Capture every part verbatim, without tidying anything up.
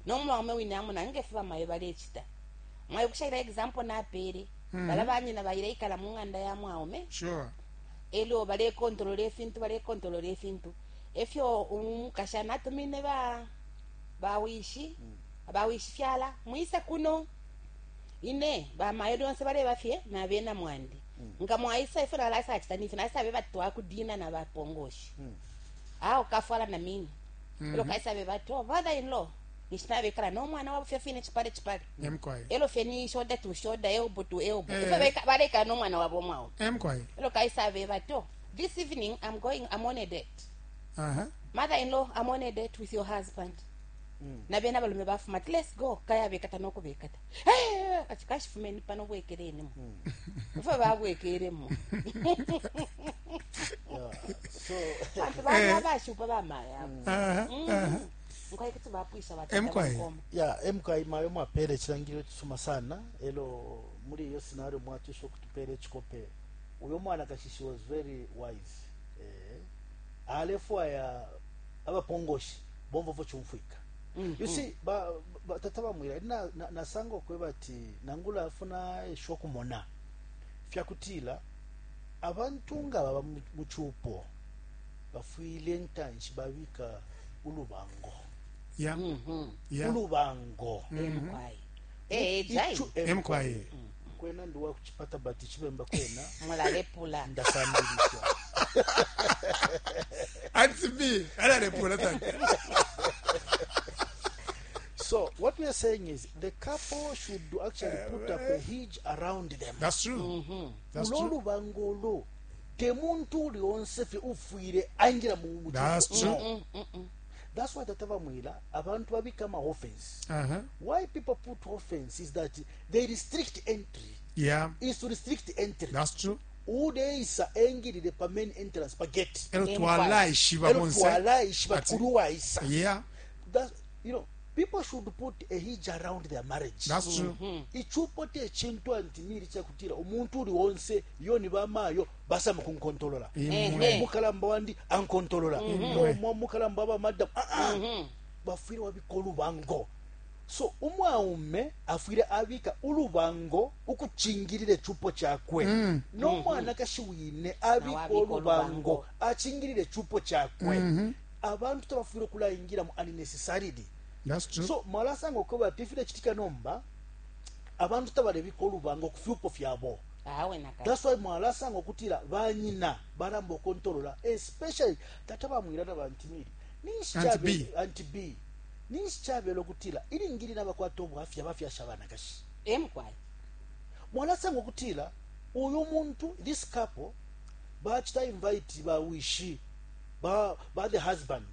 Nomwaume wine amona ngefe bamayo balecita. Mwaibukisha example napele, bala banyina baileikala mu ng'anda ya mwaume. Sure. Elyo balekontolola ifintu, balekontolola ifintu efyo umukashana atumine ba bawishi, bawishi fyala, "Mwise kuno, ine bamayo lyonse baleba fye nabena mwandi. Nga mwaisa, ifyo nalasacita nifi nasabe batwakudina na bapongoshi awo kafwala na mini." Elo kaisabe bati, "Oh, father in law nishinabekala nomwana wabo fye fine chipale chipale." Emkwai. Elo fye ni shoulder to shoulder, elbow to elbow. Eh. Ifyo beka- balekala nomwana wabo mwaume. Emkwai. Elo kaisabe bati, "Oh, this evening i'm going i'm on a date. Uh-huh. Mother-in-law, I'm on a date with your husband." Nabena balume bafuma ati, "Let's go." Kaya bekata nokubekata, "Eh, ati kashifumeni pano, bwekeleni ifo babwekelemo." Yeah. So Bantu bana bashupa bamaya. Uh-huh. Uh-huh. Nkwai kuti bapwisha. Emkwai. Batata. Ya, mk mayo mwapele chilangililo chisuma sana. Elo muri iyo scenario mwatisha kutupele chikope, uyo mwana kashishi was very wise. eh alefwaya abapongoshi bomvovo chumfwika. You see, ba, ba tata bamwira na, na, nasanga okweba ati nangula afuna eshokumona fyakutila abantu nga baba mu- muchupo bafwile ntanshi babika ulubango. Yeah. Yeah. Ulubango. Emkwai, eh jai. Ichu- Emkwai. Kwena ndiwa kuchipata bati chibemba kwena. Mulalepula. Ndasambilisha. Auntie B, alalepula tata. So what we are saying is the couple should actually put up a hedge around them. That's true. That's Ulo true. lubango ulo te muntu uli onse fye ufwire aingira mu mu That's chupo. true. No. That's why tata bamwira abantu babika ama offense. Uh-huh. Why people put offense is that they restrict entry. Yeah. Is to restrict entry. That's true. Udeisa engirire pa main entrance, pa gate. Elo Emkwai. twalaishiba Elo bonse. twalaishiba Ati- kuri waisa. Yeah. That's, you know, people should put a hedge around their marriage. That's true. Ichupo te chintu antimiri chakutira umuntu uri wonse yo ni bamayo basama kunkontolola. Imwe. Eh. Mukalamba wandi ankontolola, no mukalamba aba madam, ah ah, bafwire wabika ulubango. So umwaume afwire abika ulubango ukuchingirira echupo chakwe, nomwanakashi wine abika Nawe abika olubango olubango. achingirire echupo chakwe. Abantu tabafwire okulayingiramu unnecessarily. That's true. So mwalasanga okuba ati ifilechitika nomba, abantu tabalebika olubango ku fyupo fyabo. Awe nakati. That's why mwalasanga okutira banyina baramba okontolola, especially tata bamwira na bantimiri. Auntie B. Auntie B, ninshi chabela okutira ilingili nabakwata obwafya bafyasha abanakashi? Emkwai. Mwalasanga okutira uyu muntu, this couple bachita invite bawishi ba, ba the husband,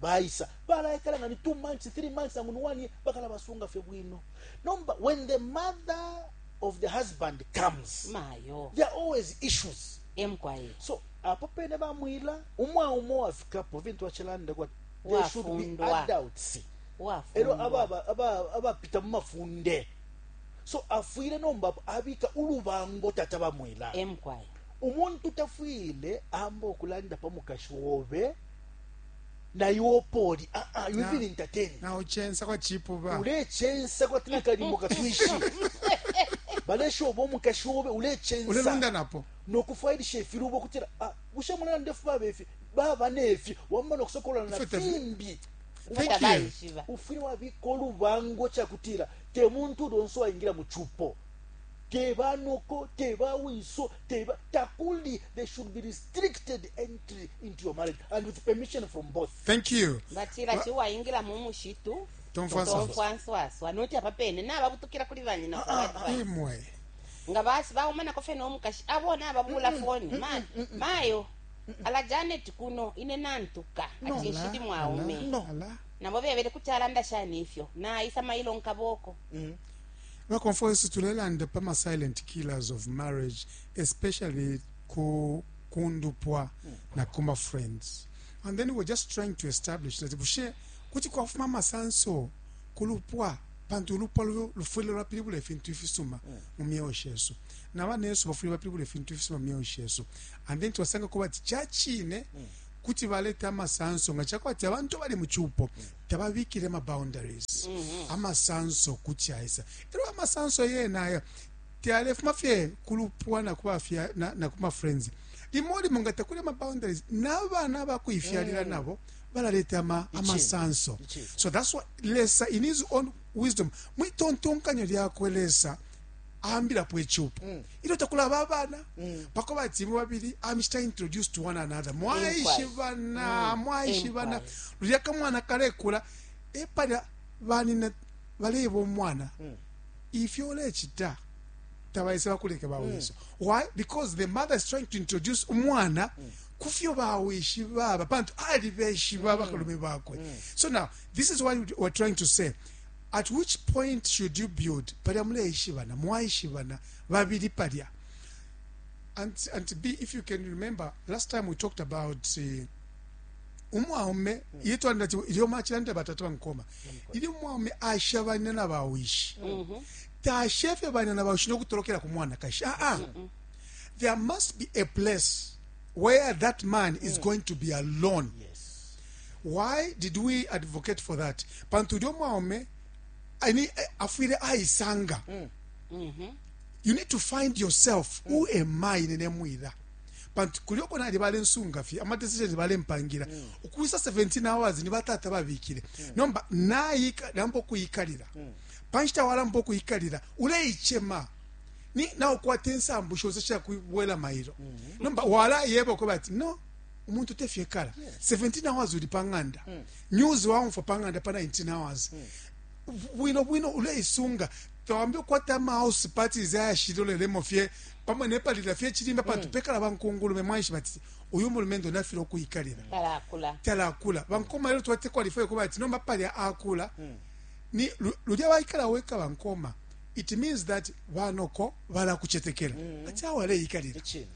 baisa balaikala nga ni two months, three months, nangu ni one year, bakala basunga fye bwino. Nomba when the mother of the husband comes, Mayo. there are always issues. Emkwai. So apo pene bamwila umwaume wafikapo vintu wachilanda kwa there should be Wafundwa. adults ero Wafundwa. aba- aba- abapita mu mafunde. So afwile nomba abika ulubango, tata bamwila. Emkwai. Umuntu tafwile amba okulanda pa mukashi wobe naiwe poli, ah ah, you Na- even entertain. Na uchensa kwa chipu ba. Ulechensa kwatina kalimo katwishi baleshoba omukashi wobe ulechensa. Ulelunda napo. Nokufwailisha efilubo kutira, ah, bushe mulana ndefu babefi baba nefi wamma nokusokolana na Ife tefi- fimbi. Thank you. Tabaishiba. Ufwile wabika olubango kyakutira te muntu ulonso waingira muchupo, tebanoko, tebawiso, teba takuli. There should be restricted entry into your marriage and with permission from both. Thank you. Batira chiwaingira mu mushitu. Tomfwanswaswa. Tomfwanswaswa noti apa pene nababutukira kuli banyina for advice. Imwe. Nga basi baumanako fye nomukashi abona ababula foni. Ma- mayo ala Janet kuno ine nantuka ati nshili mwaume. No. Ala. Nabo bebele kuti alanda shani ifyo naisa mailo nkaboko. Bakonfo tulelanda pama silent killers of marriage, especially ku kundupwa na kuma friends, and then we're just trying to establish that bushe kuti kwafuma amasanso kulupwa, pantu ulupwa lu- lufwile lwapilibula ifintu ifisuma mu myeo shesu, na banesu bafwile bapilibula ifintu ifisuma mu myeo shesu. And then twasanga kuba ati chachine. Kuti baleta amasanso nga cakwati abantu bali mu cupo tababikile ama boundaries. Amasanso kuti aisa. Elo amasanso yena aya tayalefuma fye kulupwa na kubafya na, na kuma friends. Limo limo nga takuli ama boundaries n'abana bakuifyalila nabo balaleta ama, amasanso. Ichini. So that's why Lesa in his own wisdom mwitontonkanyo lyakwe Lesa aambilapo ecupo ilyo takulaba abana pako bati imwe babili amishita introduce to one another mwaishibana mwaishibana. Inquiry. Lulya kamwana kalekula epalya banina baleba omwana ifyo ulecita tabaisa bakuleka bawiso. Why? Because the mother is trying to introduce umwana kufyo bawishi baba pantu alibeshiba bakalume bakwe. So now this is what we're trying to say: at which point should you build? Palya muleishibana, mwaishibana babili palya. and, and B, if you can remember last time we talked about uh, umwaume yetwanda ati ilyo mwachilanda batatu bankoma ilyo umwaume ashabana na bawishi tashefe bana na bawishi nokutolokela ku mwana kashi. Ah, there must be a place where that man is going to be alone. Yes. Why did we advocate for that? Pantu ulyo mwaume ani afwile aisanga. You need to find yourself. Who am I? Nene mwila pantu kulyoko nali balensunga fye ama decisions balempangira ukuisa seventeen hours ni batata babikile. Nomba nayika nambo kuyikalira panshita walambo kuyikalira uleichema ni naukwata ensambu shonse shakubwela mailo. Nomba wala yeba ko bati no umuntu tefyekala seventeen hours uli pang'anda news waumfa pang'anda pa nineteen hours bwino bwino uleisunga tawambi ukwata ama house parties ayashilolelemo fye pamwe nepalila fye chilimba pantu pekala bankungulume mwanshi bati uyu mulumendo nafile okuyikalira. Talakula. Talakula bankoma lelo twate qualify kuba ati nomba palya akula ni lu- lulya waikala weka bankoma. It means that banoko balakuchetekela ati awo aleyikalira. Ichini.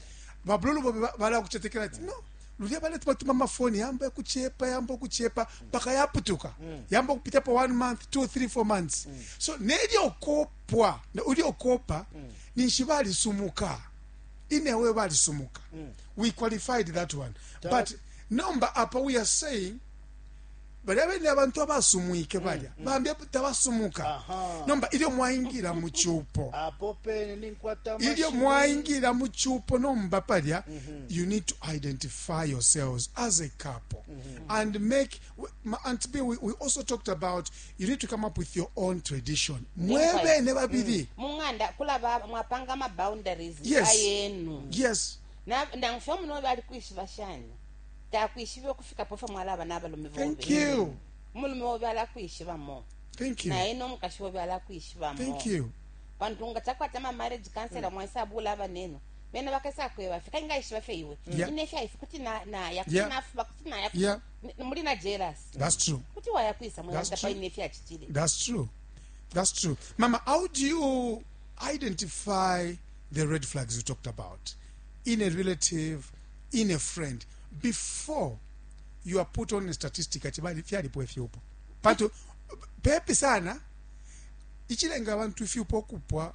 Babululu bobe balakuchetekela ati no lulya baleta batuma amafoni yamba kuchepa yamba kuchepa paka yaputuka yamba kupitapo one month, two, three, four months. So nelyo kopwa ulyo kopa ninshi balisumuka inewe balisumuka. We qualified that one, but nomba apa we are saying balya bene abantu abasumwike balya bambi tabasumuka. Aha. Nomba ilyo mwaingira mu cupo Apo pene ninkwata ilyo amashiwi. mwaingira mu cupo nomba palya you need to identify yourselves as a couple and make ma- Aunt B, we, we also talked about you need to come up with your own tradition mwebene babili. Mung'anda kulaba mwapanga ama boundaries Yes. ayenu. Yes. Na- nangufye muno bali kwishiba shani takwishiba ukufikapo fye mwalaba n'abalume bobe. Thank you. Umulume wobe alakwishibamo. Thank you. Naye n'omukashi wobe alakwishibamo. Thank you. Pantu nga chakwata ama marriage counselor mwasabula abaneno bena bakasakweba fye kaingaishiba fye iwe Yeah. ine fyaife kuti na- naya kuti Yeah. nafuba kuti naya Yeah. N- muli na jealous. That's true. Kuti wayakwisa That's mwayanda true. paine fyachitile. That's true. That's true. Mama, how do you identify the red flags you talked about in a relative, in a friend, before you are put on a statistic ati bali fyalipo ifyupo? Pantu pepi sana ichilenga abantu ifyupo okupwa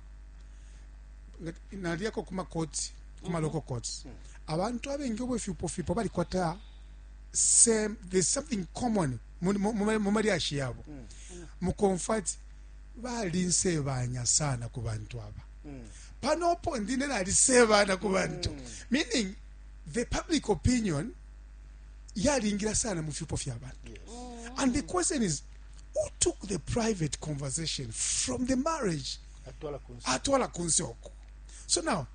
naliako kuma courts, kuma local courts, abantu abengi obwo ifyupo fipo balikwata same, there's something common mu- mu- mu mu malyashi yabo mukomfati balinsebanya sana ku bantu aba panopo ndine nalisebana ku bantu, meaning the public opinion yalingira sana mu fyupo fya bantu. And the question is, who took the private conversation from the marriage atwala kunsi atwala kunsi oko? So now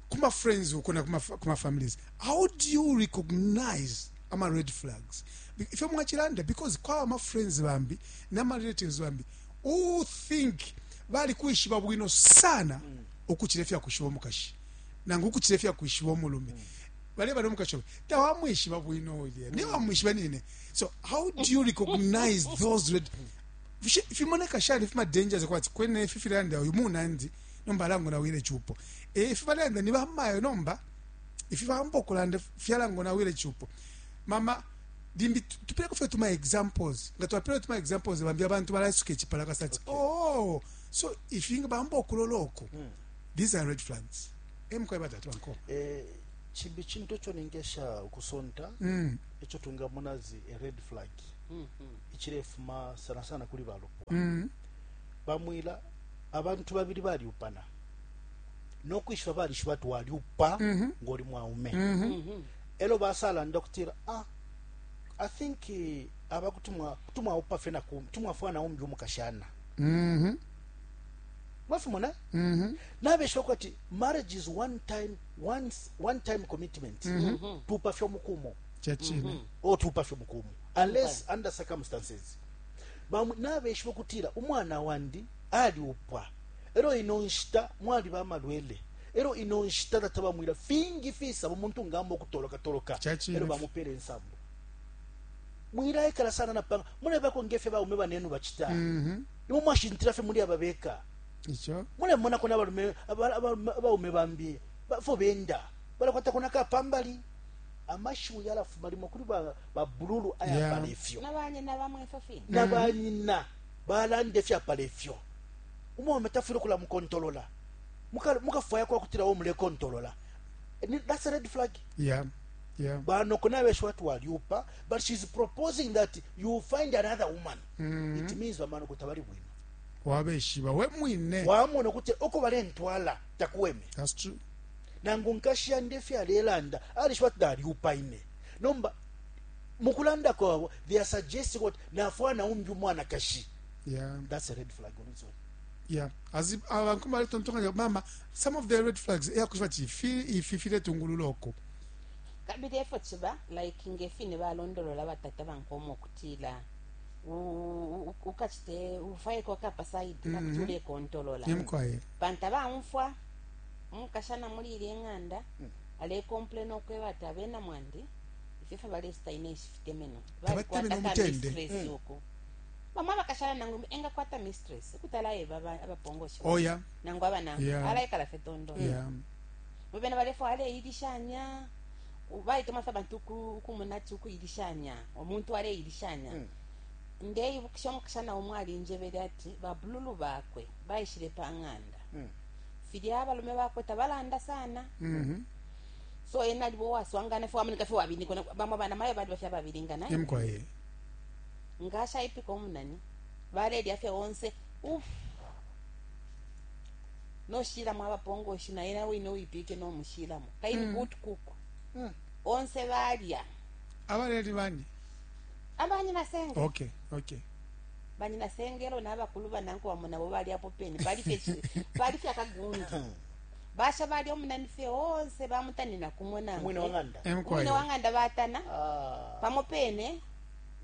kuma friends uko na kuma, kuma families, how do you recognize ama red flags? Be- ifyo mwachilanda because kwa ama friends bambi nama relatives bambi who think bali kuishiba bwino sana ukuchila ifya kushiba omukashi nangu ukuchila ifya kushiba omulume baleba nomukashi obe tawamwishiba bwino ulya niye wamwishiba nine. So how do you recognize those red Fishe- fimoneka shani fima dangers kwati kwene ifi filanda uyu munandi nomba alango nawile chupo e ifi balanda ni bamayo nomba ifi bamba okulanda fyalango nawile chupo? Mama limbi tu- tupeleko fye tuma examples nga twapele tuma examples bambi abantu balaisuka echipala kasati. Oh, so ifi nga bamba okulola oko, these are red flags emukwaye batatu banko. Eh, Chimbi chintu icho ningesha ukusonta Mm. icho tungamona zi a red flag ichilefuma sana sana kuli balupwa. Mm. Bamwila abantu babili baliupana nokwishiba balishiba ati waliupa Mhm. ngoli mwaume. Mhm. Elo basalanda kutira, ah, I think eh, aba kuti mwa- kuti mwaupa fye naku tumwafwana umbi umukashana. Mhm. Mwafimona. Mhm. Nabesha kwati marriage is one time, once, one time commitment. Tupa fye mukumo. Chachine. O tupa fye mukumo unless under circumstances. Bamwe nabesha kutira umwana wandi aliupwa, ero ino nshita mwali bamalwele, ero ino nshita tatabamwira fingi fisa umuntu ngamba okutoloka toloka. Chachine. Ero bamupere ensambo mwiraikala sana napanga mulebako ngefe baume banenu bachita. Mhm. Imwe mwashintira fye muli ababeka. Icho. Mulemonako n'abalume aba- aba- abaume bambi bafo benda balakwatako nakapambali amashiwi yalafuma limo kuli ba- babululu ayapala Yeah. ifyo. Nabanyina bamwe ifyo fine. Nabanyina balanda ifyapala ifyo, umwaume tafwile okulamukontolola. Muka- mukafwaya kwakutira wo mulekontolola. Ni- that's a red flag. Yeah. Yeah. Banoko nabesha wati waliupa, but she's proposing that you find another woman. Mhm. It means bamanoko tabali bwino. Wabeshiba we mwine. Wamona kuti uko balentwala takuweme. That's true. Nangu nkashiya ndefe alelanda alishiba ati naliupa ine, nomba mukulanda kwabo they are suggesting what nafwana umbi umwanakashi. Yeah. That's a red flag on its own. Yeah, as abankoma baletontonkanya mama, some of the red flags eyakushiba ati ifi ifi filetungulula oko. Kabili efo chiba like ngefine balondolola batata bankoma okutila u- u- ukachite ufaiko kapa side kakuti ulekontolola. Nimkwaye. Pantu abaumfwa umukashana muli ili eng'anda alekomplaina okweba ati abena mwandi ifefe balesita ine nshifitemeno. Tabatemene balikwata ka umutende. Mistress uku bamwe abakashana nangu engakwata mistress kutalaeba abapongoshe Oh yeah. nangu abanangu Yeah. alaikala fe tondo. Yeah. Mubena balefo aleilishanya baitoma fe abantu uku- ukumunati ukuilishanya omuntu aleilishanya. Ndeibukisha omukashana umwe alinjebele ati babululu bakwe baishile pa ng'anda filya abalume bakwe tabalanda sana. Mhm. So ena alibo waswangana fe wamunika fe wabinikona bamwe bana mayo bali bafya babilingana. Nimkwaye. Ngashaipika omunani balelya fye onse uf noshilamo abapongoshi naye nawe wine uipike nomushilamo kaini good cook onse balya. Abaleli bani? Abanyina senge. Okay, okay. Banyina sengelo n'abakulu bananku bamo nabo balyapo pene balifye balifye akagundi basha balya omunani fye onse bamutanina kumwe. Umwine wa ng'anda. Umwine Emkwaye. wa ng'anda batana Ah. pamo pene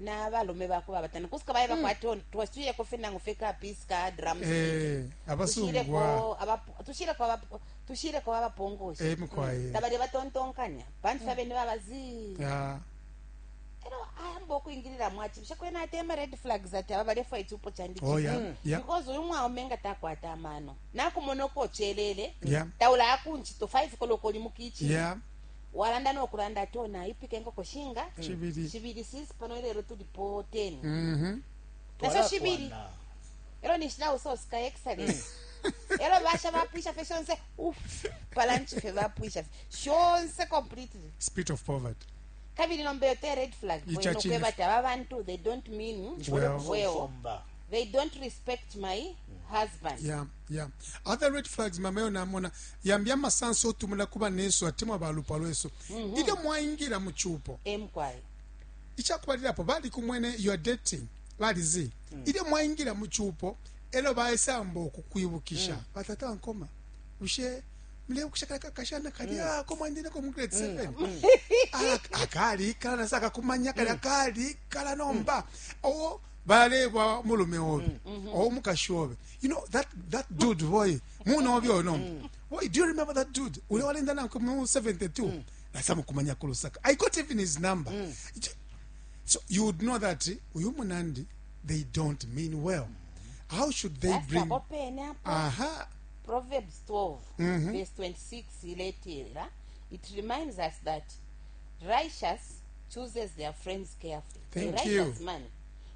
n'abalume bako babatana kusika baye bakwati twasuyeko fye nangu fye ka piece ka drumstick. Eh, abasungwa. tushireko abapo- tushireko abapo- tushireko abapongoshi. Emkwaye. Tabali batontonkanya pantu mm. abene babazi. Yeah. Ero ayamba okuingirira mwachi bishakwena atema red flags ati aba balefwa ichupo chandi. Oh yeah. Yeah. Because uyu mwaume nga takwata amano nakumona okochelele Yeah. taula akunchito five koloko oli mukichi. Yeah. Walanda nokulanda ati ona ipika enkoko shinga. Chibili. Shibili sisi pano ilero tulipo ten. Mhm. Naso shibili. Twalakwana. Ero nishina usosi ka excellent ero basha bapwisha fe shonse uf palanchi fe bapwisha fe shonse completely. Spirit of poverty. Kabili nombeyo te red flag. Ichachine. Kwebati aba bantu they don't mean Well. well. Somba. They don't respect my husband. Yeah, yeah. Other red flags mamayo namona yambya amasanso otumula kuba neso atemwa balupwa lweso ilyo mwaingira mu chupo. Emkwayo. Ichakubalirapo bali kumwene you are dating balizi ilyo mwaingira mu chupo elo baesamba okukwibukisha batata bankoma ushe mulebukisha kala kashana kalya ko mwandineko mu grade seven akalikala nasa akakumanya kalya kalikala nomba o balebwa mulume obe o mukashi obe, you know that that dude boy muna obe oyo nomba boy, do you remember that dude ule walenda nanko mu seventy-two nasa mukumanya ku Lusaka? I got even his number. So you would know that uyu munandi they don't mean well. How should they bring apo pene apo. Aha. Proverbs twelve Mhm. verse twenty-six iletera it reminds us that righteous chooses their friends carefully. Thank A righteous you. man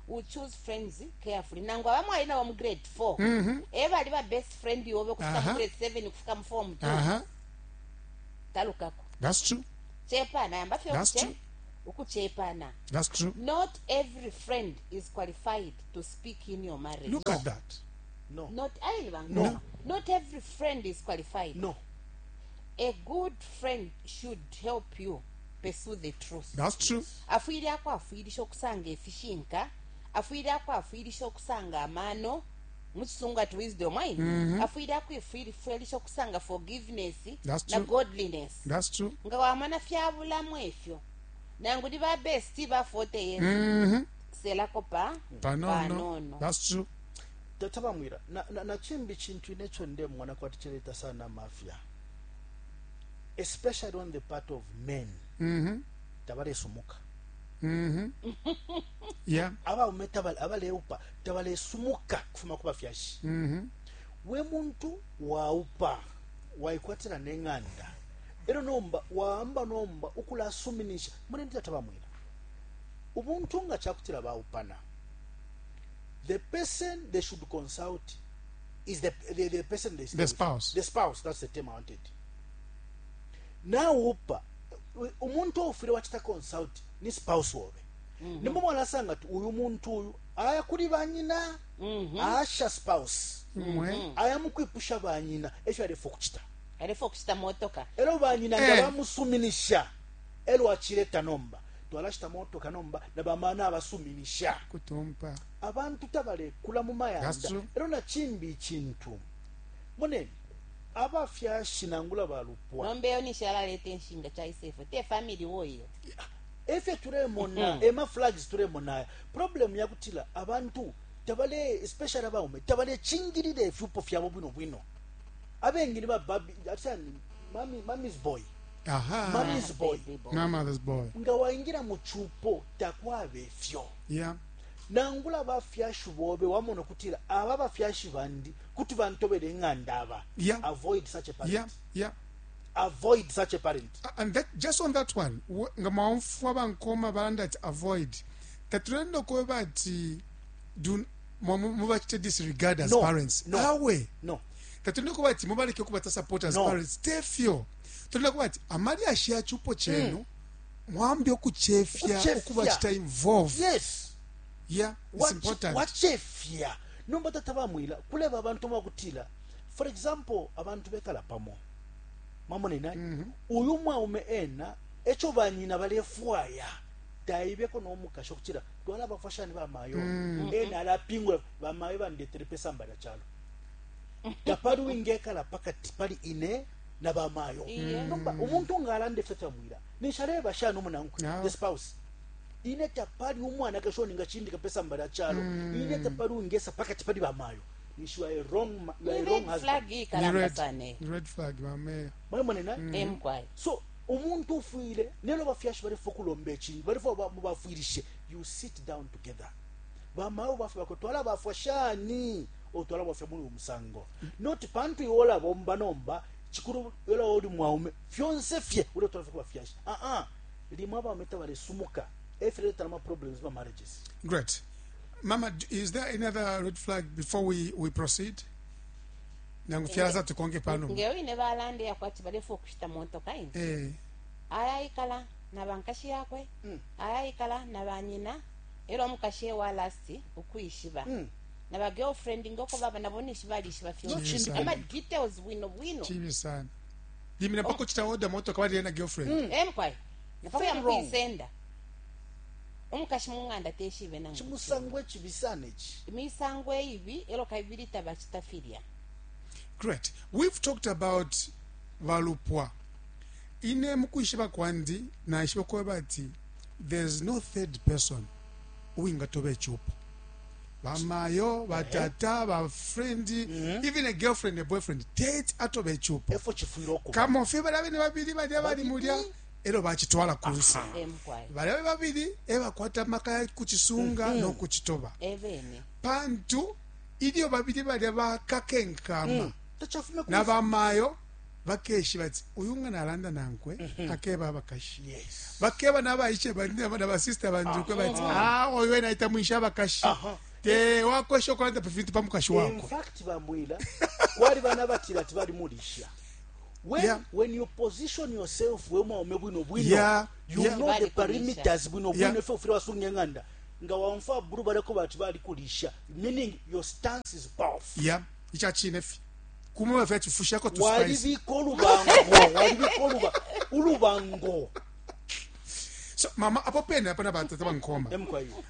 will choose friends carefully. Nangu abamwe ali nabo mu grade four ebali ba best friend yobe kufika mu Aha. grade seven kufika mu form two. Aha. Talukako. That's true. Chepana yamba fye That's ukuche true. ukuchepana. That's true. Not every friend is qualified to speak in your marriage. Look at that. No. Not ayi No. no. Not every friend is qualified. No. A good friend should help you pursue the truth. That's true. Afwile akwafwilisha okusanga efishinka, afwile akwafwilisha okusanga amano muchisungu ati wisdom ayi, afwile akwifwilisha okusanga forgiveness That's na true. godliness. That's true. Nga wamana fyabulamu efyo nangu ni ba best ba forty years, Mm-hmm. selako pa Panono. panono. That's true. Tata bamwira na, na, na chimbi chintu inecho ndemwana kwati chileta sana mafia, especially on the part of men. Mm-hmm. Tabalesumuka. Mm-hmm. Yeah. Abaume tabale abaleupa tabalesumuka kufuma ku bafyashi. Mm-hmm. We muntu waupa waikwatira neng'anda ero nomba waamba nomba ukulasuminisha mune ndi tata bamwira ubuntu nga chakutira baupana, the person they should consult is the, the, the person they stay The with. spouse. The spouse, that's the term I wanted. Naupa umuntu ofire wachita consult ni spouse wobe, mm -hmm. Nimbo mwalasanga ti uyu muntu uyu aya kuli banyina, mm -hmm. Asha spouse, mm -hmm. Aya mukwipusha banyina esho alefo kuchita alefo kuchita motoka ero banyina nga Eh. bamusuminisha ero achileta nomba twalashita motoka nomba na bamana abasuminisha Kutumpa. Abantu tabalekula mu That's mayanda true. ero nachimbi ikintu moneni abafyashi nangula balupwa. Nomba eyo nishalaleta enshinga chaisefo te family woyo. Efe tulemona ema flags tulemona problem yakutila abantu tabale especially abaume tabalechingirira efiupo fyabo bwino bwino abengi ba babi atani mami mommy's boy. Aha. Mommy's boy. Baby boy. My mother's boy. Nga waingira mu chupo takwabe fyo. Yeah. Nangula bafyashi bobe wamona kutira aba bafyashi bandi kuti bantobere enganda aba. Yeah. Avoid such a parent. Yeah. Yeah. Avoid such a parent. And that just on that one, nga mwaumfwa bankoma balanda ati avoid tatulenda okuba ati do mubakite disregard as No, parents. no. Awe No. tatulenda okuba ati mubaleke okubata support as No. parents tefyo tulenda kuba ati amali ashiya chupo chenu mwambi okuchefya Okuchefya. okubakita involve. Yes. Yeah, it's Wache- important. Wachefya nomba tata bamwila kuleba abantu bakutila for example abantu bekala pamo mwamona mm -hmm. Uyu mwaume ena echo banyina balefwaya taibeko n'omukasha okukira twala abafashani bamayo mm. Ena alapingula bamayo bandetere pesa mbala kyalo tapali wingekala pakati pali ine na bamayo. Iye. Nomba omuntu ng'alanda efe tamwira nishaleba shana omunankwe. Yeah. The spouse ine tapali umwana kashoni nga chindika pesa mbala kyalo ine tapali wingesa pakati pali bamayo nishiwa a wrong ma- you are a Ni wrong red husband. flag Ni ikalamba red, sana eyo. ni red flag mameya. Mwamona na Emkwayo. So umuntu ufwile nelo bafyashi balifo kulomba ekintu balifo mubafwirishe you sit down together bamawo bafe bakotwala bafwa shani otwala bafya muli omusango not pantu iwola bomba nomba chikuru yola oli mwaume fyonse fye ule twala fye bafyashi ah ah limwe abaume tabalesumuka efireta nama problems ma marriages. Great. Mama, d- is there any other red flag before we, we proceed? Nangu fyalaza tukonge pano. Ngeyo ine balanda yakwati balefa okushita motoka ine Eh, ayayikala na bankashi yakwe, Mm. ayayikala na banyina era omukashi ewa last okwishiba Mm. na ba girlfriend ngoko baba nabo nishi balishiba fyonse. Chibi Ama sana. details bwino bwino. Chibi sana. Limina mpaka chita order motoka bali na girlfriend. Emkwayo napaka Very wrong. yamukuisenda omukashi mung'anda teshibe nangu Chimusango ekibisana eki. Imisango eibi ero kabili tabachita filya. Great. We've talked about valupwa. Ine mukuishiba kwandi na ishiba kweba ati there's no third person uwingatoba echupo. Bamayo, batata, ba friend, even a girlfriend, a boyfriend, tate atoba echupo. Efo chifwire okuba Kama fye bali abene babiri bali abali mulya ero bakitwala ku nsi. Emkwayo. Bali abe babiri ebakwata amaka kukisunga n'okukitoba. Ebene. Pantu ilyo babiri balya bakakenkama tachafume ku n'abamayo bakeshi bati uyu ngana alanda nankwe akeba abakashi. Yes. Bakeba n'abaishe n'abasista bandukwe bati ah oyo ena itamwisha abakashi. Aha. Te wakwesha okulanda pafintu pa mukashi In wako. fact bamwila kwali bana batira ati bali mulisha. When, Yeah. when you position yourself we mwaume bwino bwino, Yeah, you yeah. know the Balikulisha. perimeters bwino bwino, Yeah. ifyo ufile wasunga eng'anda nga wamfa bulu baleko bati balikulisha, meaning your stance is powerful. Yeah, ichachine fi kumwe fya chifushako tu spice. Walibika olubango, walibika oluba ulubango. So mama apo pene apana batata bankoma. Emkwayo.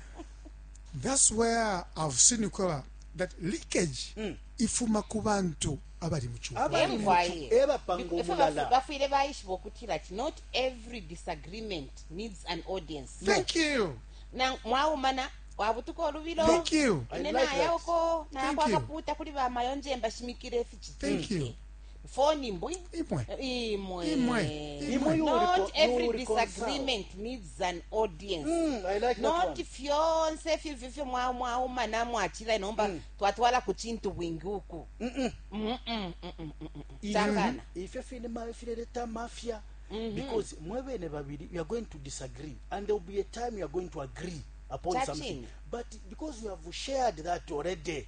That's where I've seen ukweba that leakage ifuma ku bantu abali mu chupo. Abali mu Emkwaye. chu- ebapanga Ifo omulala. bafu- bafwile baishiba ukutila ati not every disagreement needs an audience. Thank you. Na mwaumana wabutuka olubilo. Thank you. I Ine like that. nayako Thank you. nakwakaputa kuli bamayonje mbashimikire ifichitike. Thank you. Foni mbwi. Imwe. Imwe. Imwe. Imwe you Not reco- every you reconcile. disagreement needs an audience. Mm, I like that Not one. fyonse fivifyo mwaumana mwachila nomba twatwala ku chintu bwingi uku. Mm-mm, mm-mm, mm-mm, mm. Chakana. Ifyo fine ma fileleta mafia, because mwebene babiri you are going to disagree and there will be a time you are going to agree upon Chachini. something, but because you have shared that already,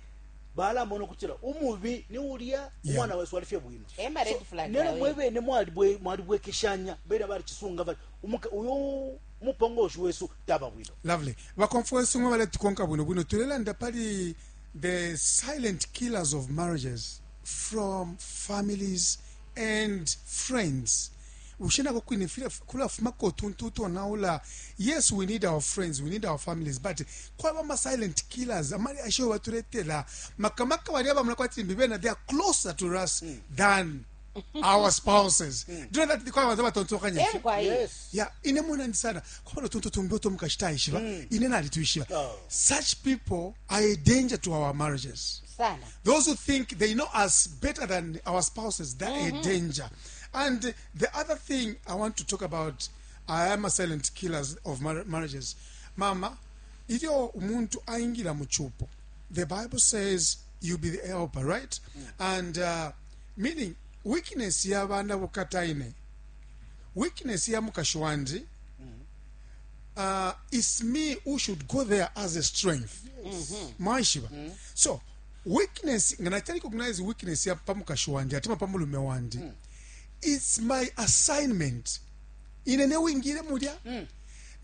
balamona okutira umubi ni ulya Yeah. umwana wesu alifye bwino. Ema red flag Nero yawe. mwebene mwalibwe mwalibwekeshanya bene bali chisunga bali umuka uyu mupongoshi wesu taba bwino. Lovely. Bakonference mwe baletukonka bwino bwino tulelanda pali the silent killers of marriages from families and friends. Ushinako kwine fila kulafumako tuntu tonaula. Yes, we need our friends, we need our families, but kwaba ma silent killers amali asho batuletela makamaka bali abamuna kwati mbibena, they are closer to us than our spouses. Do you know that kwaba batontokanya? Emkwaye. Yes. Ya ine muna ndisana kwabona tuntu tumbi tomukashitaishiba ine nalituishiba. Oh. Such people are a danger to our marriages. Sana. Those who think they know us better than our spouses, they're a danger. And the other thing I want to talk about, I am a silent killers of mar marriages. Mama, ilyo umuntu aingira muchupo, the Bible says you be the helper, right? And uh, meaning weakness y'abana bukataine, weakness ya mukashi wandi, uh, it's me who should go there as a strength. Mwaishiba. So weakness nga nachali recognize weakness ya pamukashi wandi atima pamulume wandi, it's my assignment ine newingire mulya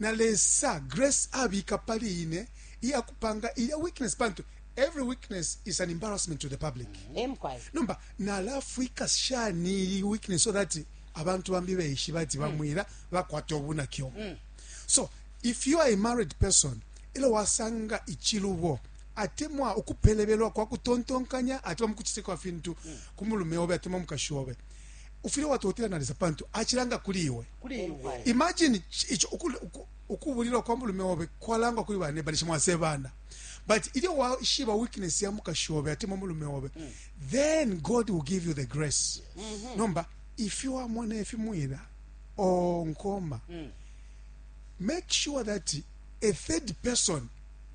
na lesa grace abika pali ine iyakupanga iya weakness pantu every weakness is an embarrassment to the public. Emkwaye. Nomba nalafwika shani iyi weakness so that abantu bambi beishi bati bamwira bakwata obunakyo. So if you are a married person, ilo wasanga ichilubo atemwa ukupelebelwa kwa kutontonkanya atemwa mukuchitika fintu kumulume obe atemwa mukashi obe, ufile watotela nalisa pantu achilanga kuli iwe. Kuli iwe. Imagine icho ukubulilwa kwa mulume obe kwalangwa kuli bane balisha mwasebana, but ilyo washiba weakness ya mukashi obe atemwa mulume obe, then God will give you the grace. Nomba if you are mwana efimwira o nkoma, make sure that a third person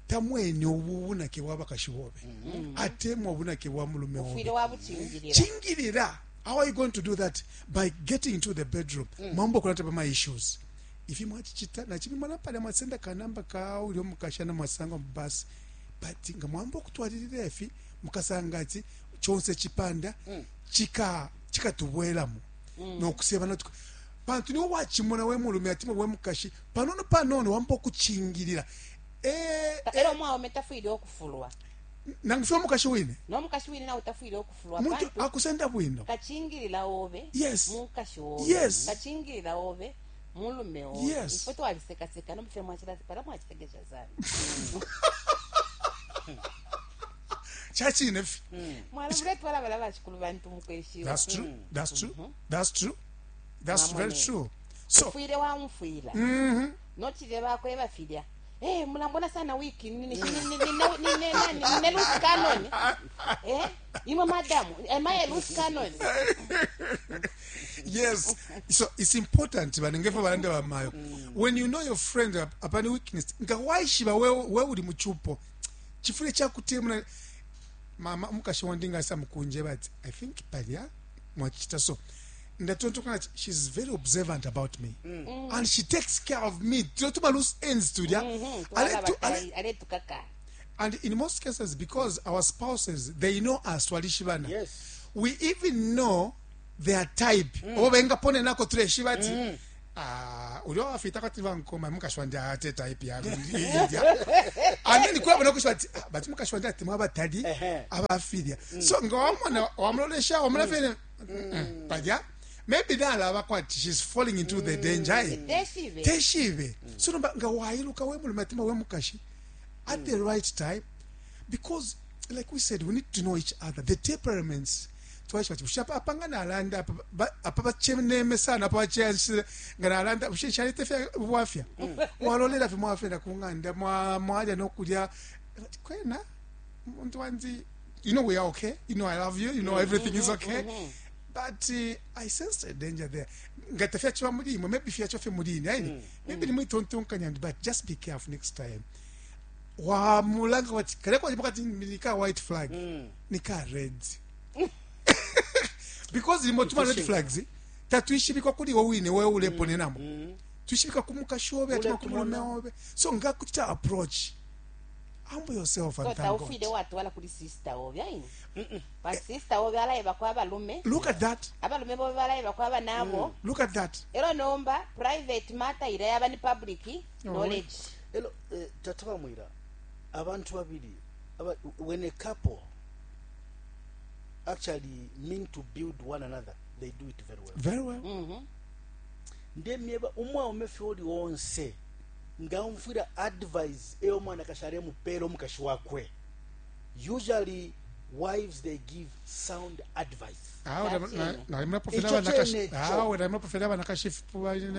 tamweni obubunake bwa bakashi bobe atemwa obunake bwa mulume Ufwile obe. wabuchingilira. Chingilira. How are you going to do that? By getting into the bedroom. Mambo kulata pa my issues. If you mwachichita na chibi mwana pale mwasenda kanamba ka ulio mukashana mwasanga mbasi, but nga mwambo kutwalirira efi mukasanga ati chonse chipanda chika chikatubweramu nokuseba natuka pantu niwo wachimona we mulume atimwe we mukashi panono panono wambo kuchingirira eh Era omwaume tafwile okufulwa. Nangufya mukashi wine N'omukashi wine nawe tafwile okufulwa. muntu Pantu akusenda bwino. kachingilira obe. Yes. Mukashi obe. Yes. Kachingilira obe mulume obe. Yes. Ifwe twalisekaseka nomufye mwachila pala mwachisekesha sana. Chachine fi. Mwala muletwala bala bashikulu bantu mukweshiwa. That's true. That's true. That's true. That's Mama very ne. true. So Ufwile wamufwila. Nochile bakwe bafilya. Eh, mulambona sana wiki nini nini nini nini loose cannon. Eh, imwe madam, am I a loose cannon? Yes, so it's important banengefa balanda bamayo. When you know your friend apani weakness, nga waishiba we we uli muchupo chifule chakutemuna mama mukashi wandinga sa mukunje, but I think palya mwachita so ndatontoka, she's very observant about me and she takes care of me. Tuma loose ends tulya. Mhm. Aletukaka. And in most cases, because our spouses, they know us, twalishibana. Yes. We even know Their type obo bengaponenako tuleshiba ati ah, ulya wafita kwati bankoma mukashi wandi ate type yakwe indya and then kulabona kushiba ati ah, bati mukashi wandi atemwa abatali Ehe. abafilya so nga wamona wamulolesha wamona fene palya maybe nalaba kwati she's falling into the danger eh? Teshibe. Teshibe. So nomba nga wailuka we mulume atima we mukashi at the right time, because like we said, we need to know each other, the temperaments twaishiba ati bushe apa apa nga nalanda apa ba- apa baceneme sana apa bacense nga nalanda bushe nshalete fya bwafya walolela fye mwafenda ku ng'anda mwa- mwalya nokulya kwena muntu wanzi, you know we are okay, you know I love you, you know everything is okay, but uh, I sensed a danger there nga tafyachiba muli imwe maybe fyacho fye muli ine aini maybe nimwitontonkanya, but just be careful next time wamulanga wati kale kwa pakati nika white flag nika red because limo tuma red flags tatwishibikwa kuli iwe wine wewe uleponenamo twishibika ku mukashi obe atima ku mulume obe so nga kuchita approach, humble yourself and So thank God. taufwile watwala kuli sister obe aini pa sister obe alaebako abalume Look at that. abalume bobe balaebako abanabo. Look at that. Elo nomba private matter ila yaba ni public knowledge. Elo eh, tata bamwira abantu babiri aba, when a couple actually mean to build one another, they do it very well. Very well. Mhm. Ndemyeba umwaume fye uli wonse nga umfwira advice eyo omwana kashale mupera omukashi wakwe, usually wives, they give sound advice. Awe That's it. nalimuna Icho chene, cho. awe nalimuna pofela abanakashi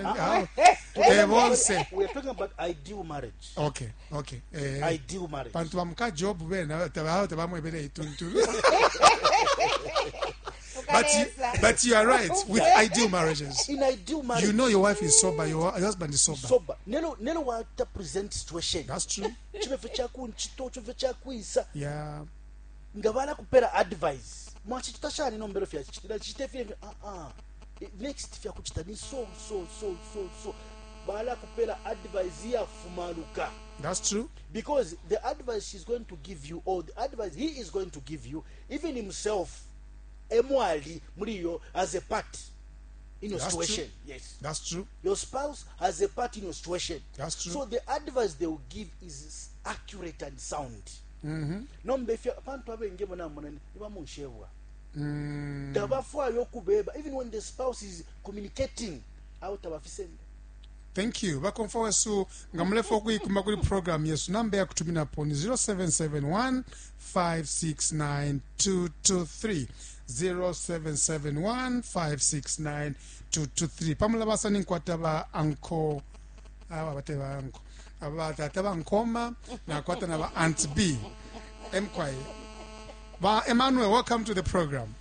Ah, awe bonse. We are talking about ideal marriage. Okay okay eh Ideal marriage. Bantu bamuka job bena tabawo tabamwebele ituntu, but you, Ukalesa. but you are right with ideal marriages. In ideal marriage, You know your wife is sober, your husband is sober. Sober nelo nelo wata present situation That's true. chibefe chakunchito chibefe chakwisa Yeah. nga balakupera advice mwachita shani nombero fyachitira chite fye ah ah next fyakuchita ni so so so so so balakupera advice yafumaluka. That's true. Because the advice she's going to give you or the advice he is going to give you, even himself emwali muliyo as a part in your That's situation. true. Yes. That's true. Your spouse has a part in your situation. That's true. So the advice they will give is accurate and sound. Mm-hmm. Nomba ifyo abantu abengi bona mona nibamunshebwa Mm. tabafwayo okubeba even when the spouse is communicating out abafisende. Thank you bakomfa wesu nga mulefa okuyikuma kuli program yesu namba yakutuminapo ni zero seven seven one five six nine two two three, zero seven seven one five six nine two two three. Pamula basa ninkwata ba anko aba bate ba anko aba tata bankoma nakwata na ba aunt B mkwai ba Emmanuel, welcome to the program.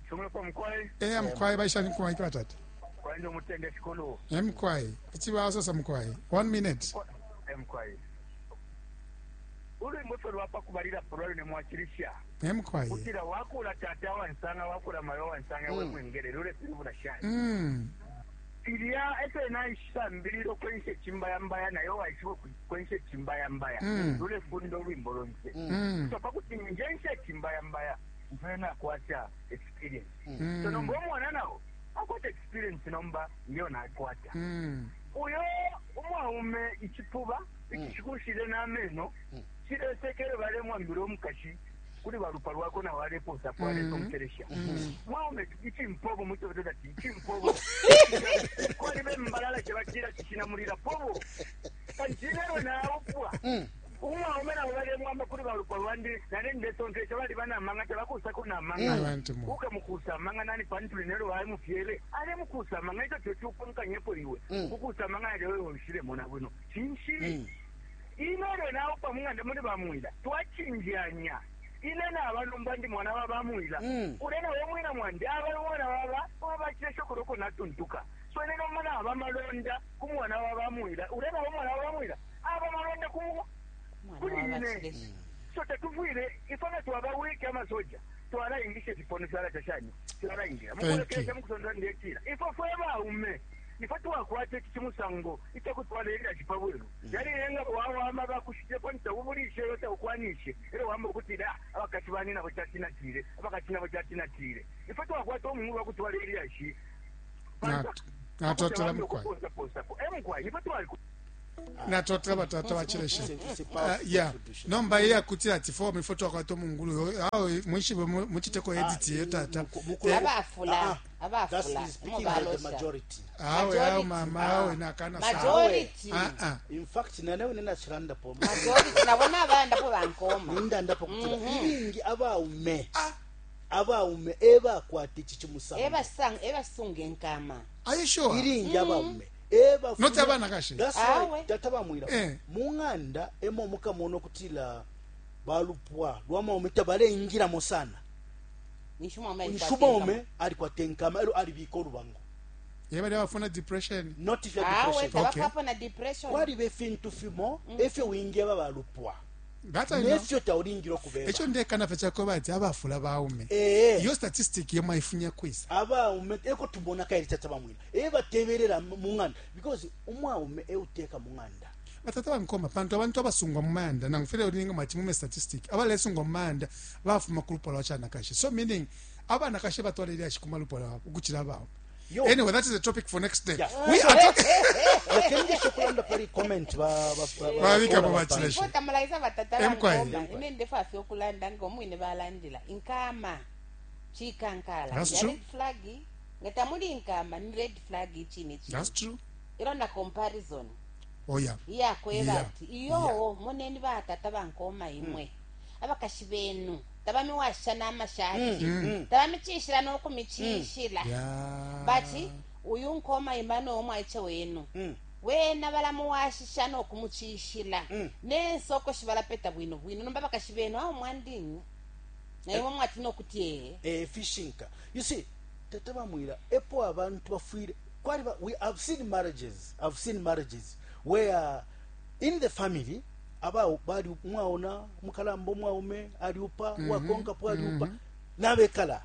Shumulo mkwai. E mkwai baisha nkwai batata. Kwai ndo mutende shikolo. Mkwai ichibasosa mkwai one minute. Mkwai ulwimbo ffe lwapa kubalira pulwalo ne mwakirisha Mkwai kutira wakula tata wansanga wakula mayo wansanga mm. Wemwengere lule pilibula shani mm. Ilya efe naisambirira okwensha ekimbayambaya naye waishiba okwensha ekimbayambaya Mm. lule funda olwimbo lonse Mm. so pakuti nje nsha ekimbayambaya nfune nakwata experience Mm. so nomba omwana nawo akwata experience nomba ngeyo nakwata Mm. uyo umwaume ichipuba ichikushile n'ameno chilesekele balemwambila omukashi kuli balupa lwako nawe aleposa kwaleta omukeresha mwaume ichimpobo muchobetota ti ichimpobo kwali bembalala kyebakira kichinamulira pobo kanchilero naupwa umwaume nawe balemwamba kuli balupa lwandi nane ndesontesha bali banamanga tebakusako namanga Abantu mu. ukamukusa amanga nani pantuli nelo walimufyele alemukusa amanga icho kyokyukonkanyepo iwe kukusa amanga yalewe onshilemo na bwino chinshi inelo naupa mung'anda muli bamwila twachinjanya ine nabalumba ndi mwana wa bamwila Mm. ule nawe mwina mwandi abali mwana waba wabachileshokoloko natuntuka so ine nomwana aba malonda ku mwana wa bamwila ule nawe mwana wa bamwila aba malonda ku Mwana kuli wa ine bakireshi. So tetufwile ifana twabawike amasoja twalaingisha ekipono kyala kyashani kyalaingira Thank you. mukulekelesha mukusonda ndekira ifo fwe baume. Ifwe twakwata ichi chimusango ichakutwala ilyashi pabwelu yaliyenga wawama bakushitepo nitaubulishe yo taukwanishe elo wamba ukutila abakashi bani nabo chatinatile abakashi nabo chatinatile ifwe twakwata omungu bakutwala ilyashi Natotela mukwai. Emukwai ifwe twali Natotela batata bachileshe. Yeah, nomba iye akutila ati fo mifo twakwata omungulu awo mwishibe muchiteko edit ye tata. Abafula abafula majority. Awe awe mama awe nakana majority. Ah ah. In fact nanewe nina chilanda po. Majority nabona abanda po bankoma. Ninda po kutila. Ilingi abaume. Abaume eba kwati chichimusango. Eba sang eba sunge nkama. Are you sure? Ilingi abaume. Eba not abana kashe. That's why tata bamwira. Munganda emo mukamono kutila balupwa lwamaume tabaleingira mosana. Nishumaume alikuwa tenkama elo alibika olubango. Yeba bafuna depression. Not if depression. Ah, okay. Na depression. Kwali befintu fimo efyo winge babalupwa. That I know. Nefyo taulingira okubeba. Echo ndekana fecha ko bati abafula baume. Eh. Iyo statistic yema ifunya kwisa. Abaume eko tubona kaili tata bamwina. Eba teberera munganda because umwaume euteka munganda. Batata bankoma pantu abantu abasungwa mumanda nangifele ulinga machimume statistic abalesungwa mumanda bafuma kulupwa lwachana kashe. So meaning abana kashe batwale lya shikuma lupwa ukuchira bawo. Anyway, that is a topic for next day. Yeah. We are talking. Lakini shokulanda pali comment ba ba ba bika ba Tamalaisa batata bankoma ine ndefa fyo kulanda ngomwine balandila inkama chikankala. Red flag ngatamuli inkama ni red flag chini chini. That's true. Ilo na comparison. Oh yeah. Iya kweba ati iyo moneni batata bankoma imwe. Abakashi benu tabami washa namashati tabami chishira nokumichishira. But uyu nkoma imano omwaiche wenu wena balamuwashisha nokumuchishira nensoko shibalapeta bwino bwino nomba bakashi benu awo mwandinyi naye mwati nokuti eh fishinka. You see tata bamwira epo abantu bafwire kwali we have seen marriages I've seen marriages where in the family aba bali mwaona mukalambo mwaume aliupa mm -hmm. wakonka po aliupa mm -hmm. nabekala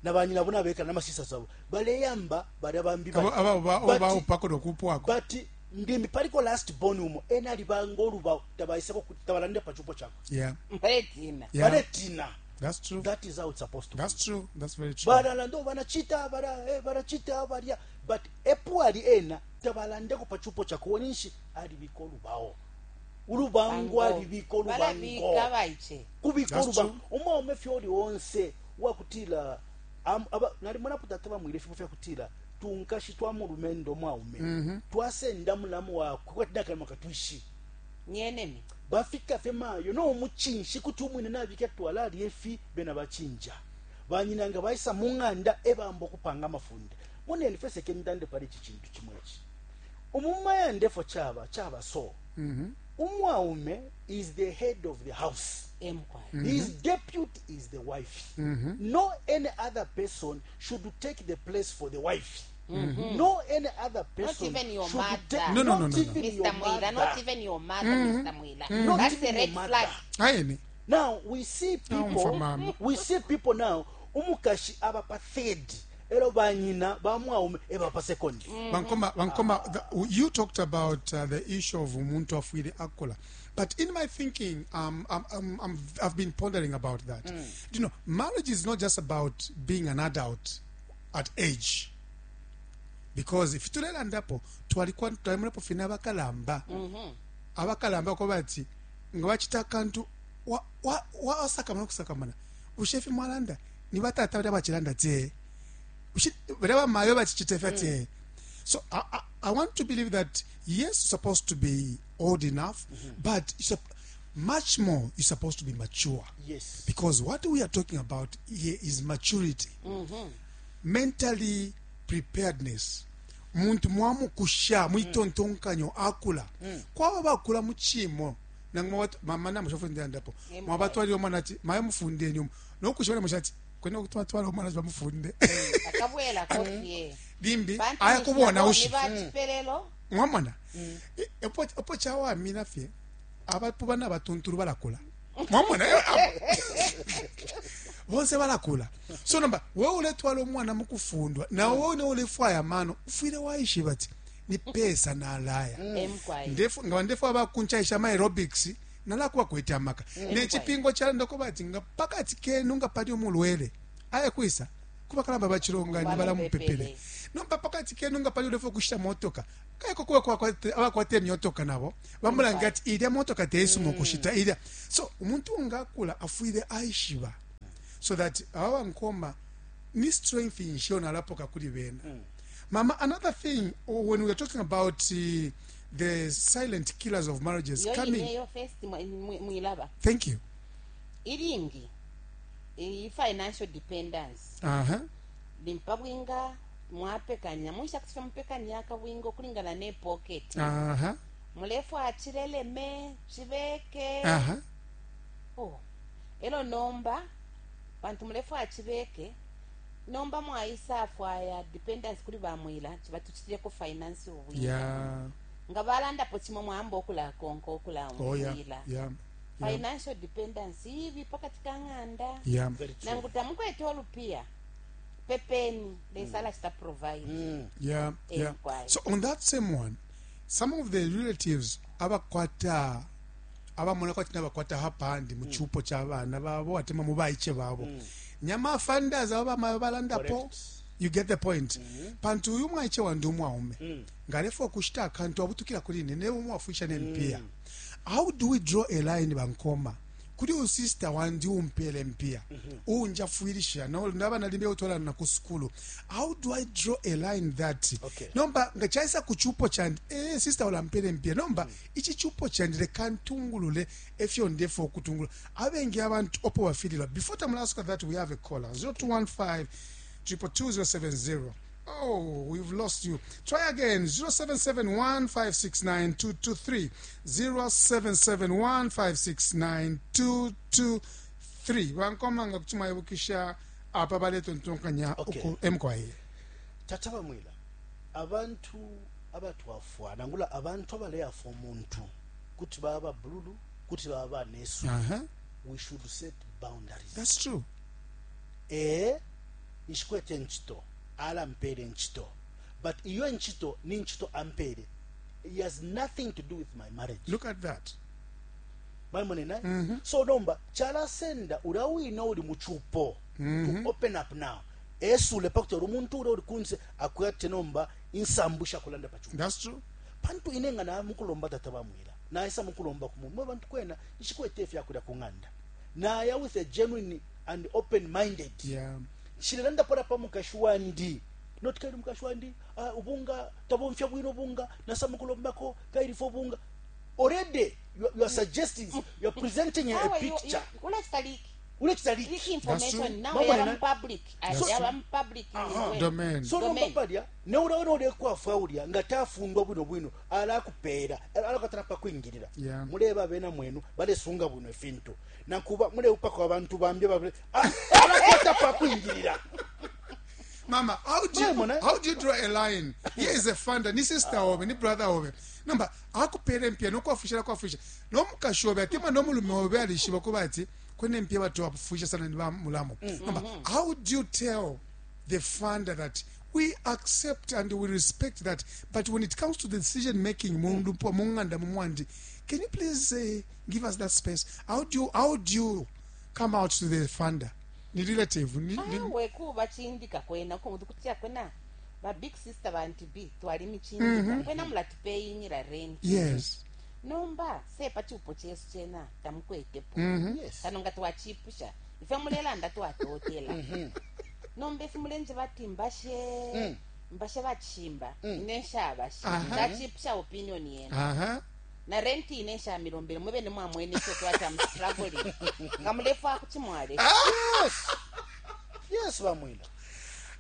nabanyina bona bekala namasisa sabo baleyamba bali abambi aba aba aba upako dokupwako but ndimi paliko last born umo ena alibango luba tabaiseko tabalande pachupo chako yeah baletina yeah. baletina. That's true. That is how it's supposed to That's be. true. That's very true. Baralando banachita bara eh barachita baria but epo ali ena tabalandeko pachupo chako wonishi alibiko lubao ulubango alibiko lubango kubiko lubango umaume fyoli onse wakutila nali mwana tata bamwire fifo fyakutila tunkashi twa mulumendo mwaume mm -hmm. twasenda mulamu wakwe kwatinakala makatwishi nyenemi bafika femayo no muchinshi kuti umwine nabike twala aliefi bena bachinja banyinanga baisa munganda ebambo kupanga mafunde munene fese kendande pali chichintu chimwechi umumaya ndefo chaba chaba so mm -hmm. Umwaume is the head of the house. Mm -hmm. His deputy is the wife. Mm -hmm. No any other person should take the place for the wife. Mm -hmm. No any other person. Not even your should mother. Take, no, no, no, not no, even no. Mister Your Mwila, mother. Not even your mother, mm -hmm. Mister Mwila. Mm -hmm. Not That's even a red your flag. Aye. Now we see people. We see people now. Umukashi abapa third. Ero banyina bamwaume ebapa second. Bankoma, Bankoma, the, you talked about uh, the issue of umuntu afwile akola. But in my thinking, um, I'm, I'm, I'm, I've been pondering about that. Mm. You know, marriage is not just about being an adult at age. Because if tulelandapo, twalikuwa twalimulepo fina abakalamba. Abakalamba ko bati nga bachita kantu wa wa wa sakamana kusakamana. Ushefi mwalanda ni batata bali bachilanda te. Whatever mayo bachichite. So I, I, I want to believe that yes, you're supposed to be old enough, mm-hmm. but you're much more you're supposed to be mature. Yes. Because what we are talking about here is maturity. Mm-hmm. Mentally preparedness. Muntu mwamu kusha mwitontonkanyo akula. Mm. Kwa bakula muchimo nangwa mama na mushafunde ndapo. Mwabatwali omwana ati maye mufunde nyuma. Nokushona mushati kwenda kutwatwala omwana bamufunde. Akabwela kofi. Limbi aya kubona ushi. Mwamona. Mm. Epo epo chawa mina fye abapo bana batunturu balakula. Mwamona. Bonse balakula. So nomba wewe uletwala umwana mukufundwa nawe wewe ne ulefwaya amano ufwile waishiba ati ni pesa nalaya. Emkwai. Ndefu nga ndefu abakunchaisha ama aerobics nalakuba kwete amaka nechipingo chalanda bati nga pakati kenu nga pali umulwele aya kwisa kubakalamba bachilongani balamupepele nomba pakati kenu nga pali ulefu kushita motoka kaiko kuba kwa abakwate myotoka nabo bamulanga ati ilya motoka teisumo kushita ilya. So umuntu ngakula afwile aishiba so that awa nkoma ni strength insho nalapoka kuli bena. Mama, another thing when we are talking about uh, the silent killers of marriages Yo coming. ineyo first mwilaba. Thank you. Iringi i financial dependence. Uh-huh. Limpa bwinga mwapekanya musha kusha mpekanya akabwinga okulingana ne pocket. Uh-huh. Mulefu achileleme chibeke. Uh-huh. Oh. Elo nomba bantu mulefu achibeke nomba mwaisa afwaya dependence kuli bamwila chibatuchireko finance obwinga. Yeah. Nga balanda po chimo mwambo okula konko okula Oh yeah. mwila. Yeah. Yeah. Financial dependence ibi pakati kang'anda. Yeah. Very true. Nangu tamukwete olupia pepeni lesala chita provide. Mm. Yeah, yeah. Enquiry. So on that same one, some of the relatives abakwata abamona kwati nabakwata hapandi mu chupo cha bana babo atema mu baiche babo. Nyama funders aba mabalandapo. You get the point. Mm-hmm. Pantu uyu mwaiche wandu mwaume. Mm. Ngalefo kushita akantu abutukira kuli ne umwafisha ne mpia. Mm. How do we draw a line bankoma? Kuri u sister wandi umpele mpia. Mm-hmm. Unja fuilisha no ndaba nalimbe utola na kuskulu. How do I draw a line that? Okay. Nomba ngachaisa kuchupo chandi eh sister ulampele mpia. Nomba mm. ichi chupo chandi le kantungulule efyo ndefo kutungula. Abengi abantu opo wafilila. Before tamulaska that we have a caller zero two one five triple two zero seven zero. Oh, we've lost you. Try again. zero seven seven one five six nine two two three. zero seven seven one five six nine two two three. Wankomanga kuchuma yebukisha apa baleto ntonkanya Okay. M K I. Tata bamwila abantu abatwafwa nangula abantu abaleyafa omuntu kuti baba bululu kuti baba nesu. Uh-huh. We should set boundaries. That's true. Eh ishikwete nchito alampere nchito, but iyo nchito ni nchito ampere, it has nothing to do with my marriage. Look at that. Maimone mm-hmm. So nomba chalasenda ulawina uli muchupo mm-hmm. to open up now esule pakuti umuntu ule uli kunze akwate nomba insambusha kulanda pachupo. That's true. Pantu inenga na mukulomba tata bamwila naisa mukulomba kumu bantu kwena ishikwete fya kulya kunganda naya with a genuine and open minded. Yeah. Shilanda pora pa mukashwandi not kaili mukashwandi uh, ubunga tabomfya bwino ubunga nasa mukulombako kaili fo bunga already you, you are suggesting, you are presenting a, a picture. Ule chitaliki information now you are public. I am public. Domain. So nomba palya ne ulaona ule kwafa ulya nga tafundwa bwino bwino alakupera alakatana pa kwingirira. Yeah. Muleba bena mwenu balesunga bwino efintu nakuba mule upaka abantu bambye babale alakata pa kwingirira. Mama, how do you, how do you draw a line? Here is a funder, ni sister obe, ni brother obe. Number, akupere mpia no kwafusha kwafusha. No mukashobe atima no mulume obe alishiba kubati kwene mpia watu wafusha sana ni mulamo. Number, how do you tell the funder that we accept and we respect that, but when it comes to the decision making, mundu munganda mumwandi, can you please uh, give us that space? How do you, how do you come out to the funder? Ni relative ni, ni we kuba chindika kwena kutia kwena ba big sister bantu b twali michindika kwena mulatipeyinyira rent. Yes. Nomba sepa chupo chesu chena tamukwetepo. Mm-hmm. Yes. Kano nga twachipusha ife mulelanda twatotela. Nomba ife mulenje bati mbashe mbashe bachimba inesha bashi ndachipusha opinion yena. Aha. Na rent inesha milombele mwebe ne mwamwene cyo twata struggling kamulefu akuchimwale. Yes. Yes bamwila.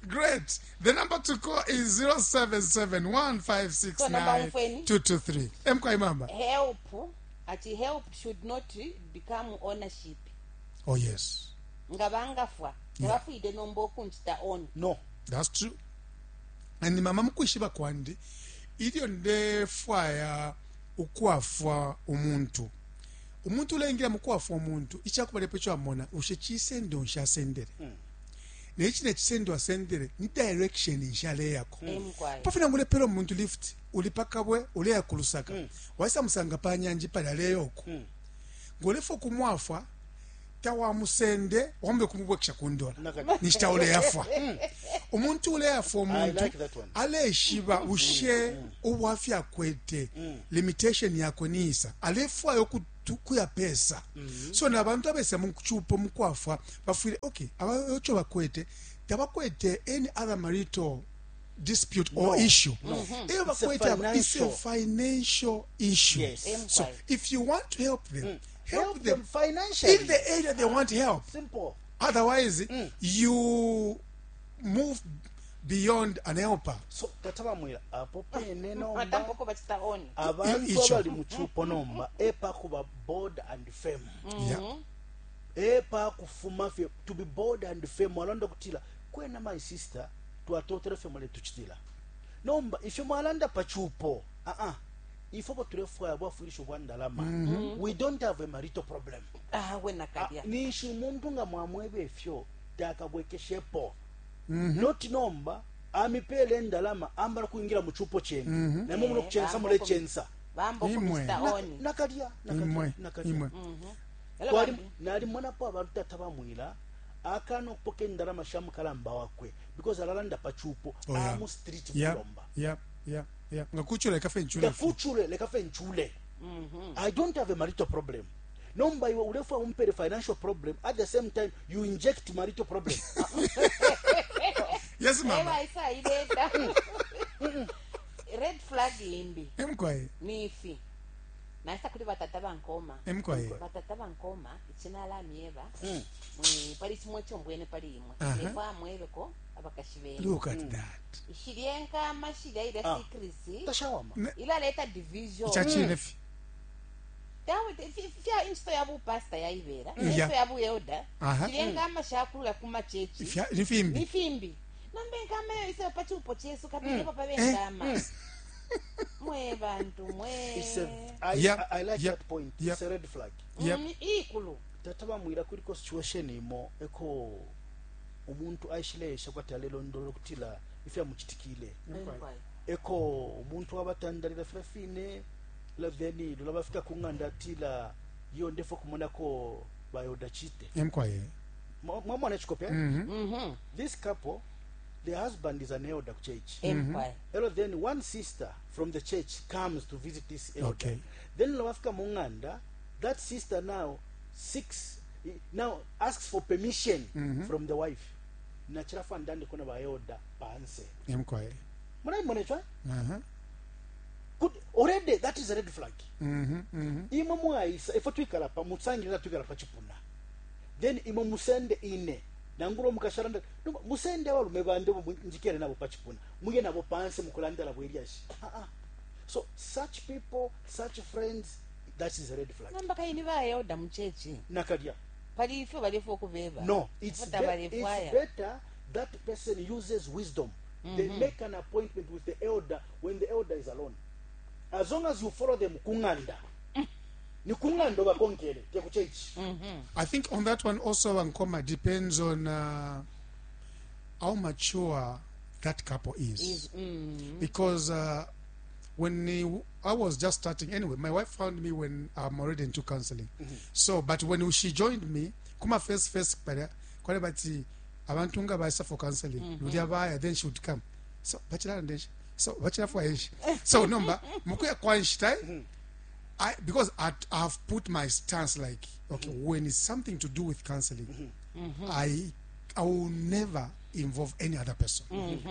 Great. The number to call is zero seven seven one five six nine two two three. M K mama. Help. Ati help should not become ownership. Oh yes. Ngabangafwa. Ngabafuide nombo kunchita own. No. That's true. And mama mukwishiba kwandi ilyo ndefwaya ukwafwa umuntu. Umuntu ulengira mukwafwa umuntu ichakubalepo chamona ushe chisendo nshasendere. Mm. Nechi nechisendo asendele ni direction nshaleyako. Emkwai. Pafuna ngulepela omuntu lift uli pakabwe uleya ku Lusaka. Waisa musanga pa nyanji pali aleyoko. Ngolefa kumwafwa tawamusende wambe kumubwekesha kundola. Nakati. Nishita uleyafwa. Umuntu uleyafwa umuntu I like that one. aleshiba ushe ubwafya akwete limitation yakwe niisa alefwayo kutu- kuya pesa. So nabantu abesa mukuchupo mukwafwa bafwile okay abayocho bakwete tabakwete any other marital dispute or No. issue. Eyo It's a bakwete aba- it's a financial. financial issue. Yes. So Emkwai. if you want to help them, help, Help them them financially. in the area they want help. Simple. Otherwise, you move beyond an helper. So tata bamwira apo pene nomba Atampoko bachita oni. abantu Icho. abali mu chupo nomba epa kuba bold and firm. Yeah. Epa kufuma fye to be bold and firm walonda kutila kwena my sister twatotera fye mule tuchitila nomba ifyo mwalanda pachupo ah ah ifo batulefwaya bwafurisha bwa ndalama. We don't have a marital problem. Ah, wena Ah, kalya. nishi umuntu nga mwamwebe ifyo takabwekeshepo. Not nomba amipele endalama ambala kuingira mu chupo chenu namwe muno kuchensa mule chensa. Bambo Imwe. kumista Na- oni. nakalya nakalya Imwe, nakalya imwe. Elo Twali- bambi. nalimonapo abantu tata bamwila akana okupoka endalama sha mukalamba wakwe because alalanda pachupo Oh, yeah. amu street Yeah. kulomba. Yeah. Yeah. Yeah. Ngakuchula ikafe nchula. Ngakuchule lekafe nchule. I don't have a marital problem. Nomba iwe ulefwa umpere financial problem, at the same time you inject marital problem. Yes, mama. Ewa isa ileta. Red flag imbi. Emkwaye. Nifi. Naisa kuli batata bankoma. Emkwaye. Batata bankoma ichinala myeba. Mwe pali chimwe chombwene pali imwe. Aha. Nefwa mwebeko abakashi bene. Look at that. Ishilyenka mashilya ila Ah. secrecy. Tashawama. Ne- Ilaleta division. Chachine fi. Tawe fya insto ya bupasta yaibera. Yeah. Insto ya buelda. Aha. Shilyenka mashakulula kuma chechi. Fya nifimbi. Ni fimbi. Nambe nkama yo isa pachupo chesu kabili papa benkama. Mwe bantu mwe. It's a, I, Yep, I, I like yep, that point. yep. It's a red flag. Yep. Mm, ikulu. Tata bamwira kuliko situation imo eko umuntu aishilesha kwati alelondolola kutila ifya muchitikile. Emkwaye. Eko umuntu wabatandalira fila fine la then lula bafika kunganda atila yo ndefo kumonako bayoda chite. Emkwaye. Mwamona chikope? Mhm. Mhm. This couple, the husband is an elder church. Emkwaye. Elo then one sister from the church comes to visit this elder. Okay. Then lwafika munganda, that sister now seeks, now asks for permission from the wife. Nachirafa ndande kuna ba elder panse. Emkwaye. Mwana mbona Uh-huh. Good. Already that is a red flag. Mhm. Mhm. Imwe mwaisa ifo twikala pa mutsangirira twikala pa chipuna. Then imwe musende ine nangulo mukasharanda no, musende abalume bande bo njikere nabo pa chipuna. Muye nabo panse mukulandala bwelyashi. Ah ah. So such people, such friends, that is a red flag. Namba kaini ba elda muchechi. Nakalya. Pali ifyo balefwa okubeba. No, it's, Futa be, balefwaya. it's better that person uses wisdom. They make an appointment with the elder when the elder is alone. As long as you follow them kunganda. Ni kunganda bakonkele te ku church. I think on that one also Ankoma depends on uh, how mature that couple is. Is mm. Because uh, when he, I was just starting, anyway, my wife found me when I'm already into counseling. So, but when she joined me, kuma first first kwale kwale bati abantu nga baisa for counseling. Ludia baya then she would come. So, bachila ndeshi. So, bachila for enshi. So, number mukuya kwa nshita I because I I've put my stance like okay, when it's something to do with counseling, I I will never involve any other person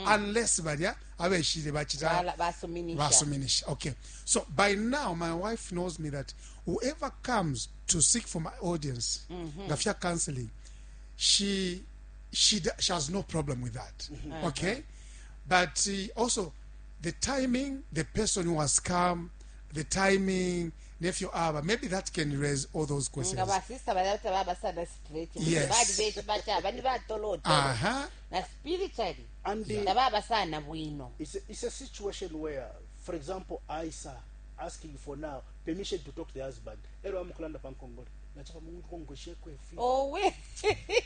unless baria abeshire bachita Bala- basuminisha. basuminisha. Okay, so by now my wife knows me that whoever comes to seek for my audience, ngafia counseling, she she d- she has no problem with that. Okay, but uh, also the timing, the person who has come, the timing, nephew aba, maybe that can raise all those questions. Nga basista balata babasana straight. Yes. Bali beshi bacha bani batolotolo. Uh-huh. Na spiritually. And the, Tababasana bwino. it's, a, it's a situation where, for example, Isa asking for now permission to talk to the husband. Ero amukulanda pankongole. Nachapa mungu kongoshe kwefi. Owe.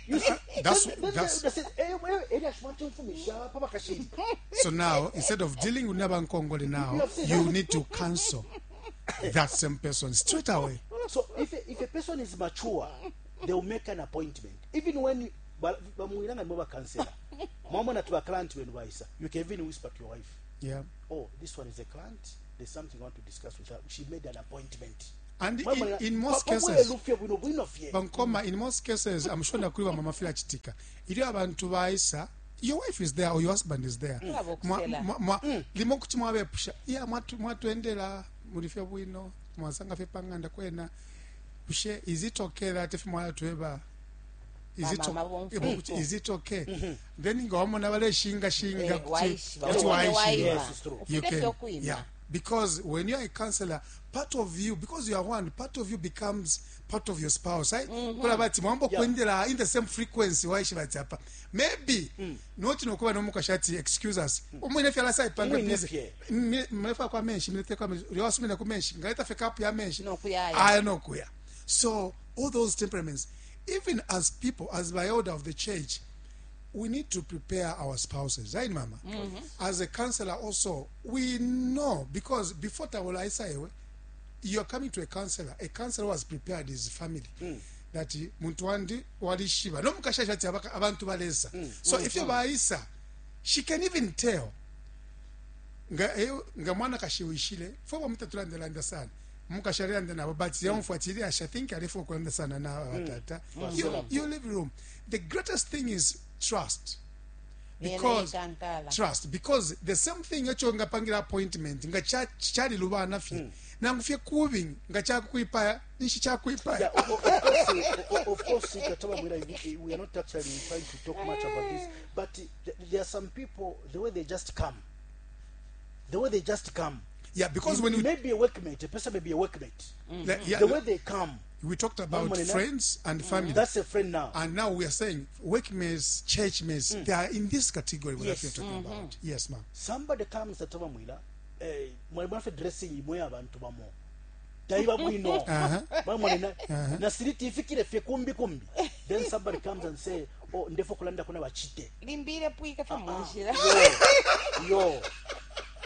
You see, That's- then- then that's- they say, eh, Elya shimwatimfumisha pa bakashini. So now, instead of dealing with Nabankongole now, You have seen you that. need to cancel that same person straight away. So if a, if a person is mature, they will make an appointment. Even when ba- bamwiranga nibo bakansela. Mwamona to a client when waisa, you can even whisper to your wife, Yeah. "Oh, this one is a client. There's something I want to discuss with her." She made an appointment. And in, Mwamona- in most Pa- pa- cases, bwelufye bwino bwino fye. Bankoma, in most cases, I'm sure nakuli bamama fila chitika. Ilyo abantu baisa, your wife is there or your husband is there. Mwaba Mwa- okusela. mwa- mwa- limo kuti mwabepusha iya mwatu- mwatwendela mulifye bwino mwasanga fye pang'anda kwena bushe is it okay that if mwalatweba is it Bamama okay, bomfwiko. kuti is it okay then nga wamona baleshingashinga Eh, kuti waishiba, kuti wamona waishiba. waiba. Yes, it's true. You Ufile can fye okwima. yeah, because when you are a counselor, part of you, because you are one, part of you becomes part of your spouse, right? Kula bati mwambo Yeah. kwendela in the same frequency waishiba ati apa maybe noti nokuba nomukashi ati excuse us umwine fye alasaipanga Umwine busy fye. mlefa kwa menshi mlete kwa menshi lyawasumina ku menshi ngaleta fe kapu ya menshi Nokuyaya. aya nokuya. So all those temperaments, even as people, as by order of the church, we need to prepare our spouses, right, mama? As a counselor also, we know, because before Tawola Isaiwe, you are coming to a counselor. A counselor who has prepared his family. That he- muntu wandi walishiba. No mukasha ati abaka- abantu balesa. So if you baisa, she can even tell. Nga eh, nga mwana kashiwishile fo bamutatulanda sana mukashalanda nabo but yamfuatilia I think alifu kulanda sana na batata. you, you live room, the greatest thing is trust, because Yena ikankala. trust, because the same thing echo ngapangira appointment nga cha- chali lubana fye nangu fye kubi nga chakuipaya nishi chakuipaya. Yeah, of, of course, of, of course, Kataba Mwira, we we are not actually trying to talk much about this, but th- there are some people, the way they just come, the way they just come. Yeah, because You- when you we, may be a workmate, a person may be a workmate. like, yeah, The way they come, we talked about Mama, friends and family, that's a friend now. and now we are saying workmates, churchmates, they are in this category what Yes. you're talking about. Yes, ma'am. Somebody comes Kataba Mwira, eh, mwalimu dressing imwe abantu bamo. Taiba bwino. Mwamona na na siliti ifikire fye kumbi kumbi. Then somebody comes and say, "Oh, ndefo kulanda kuna bachite." Limbile pwika fye munjira. Yo. Yo.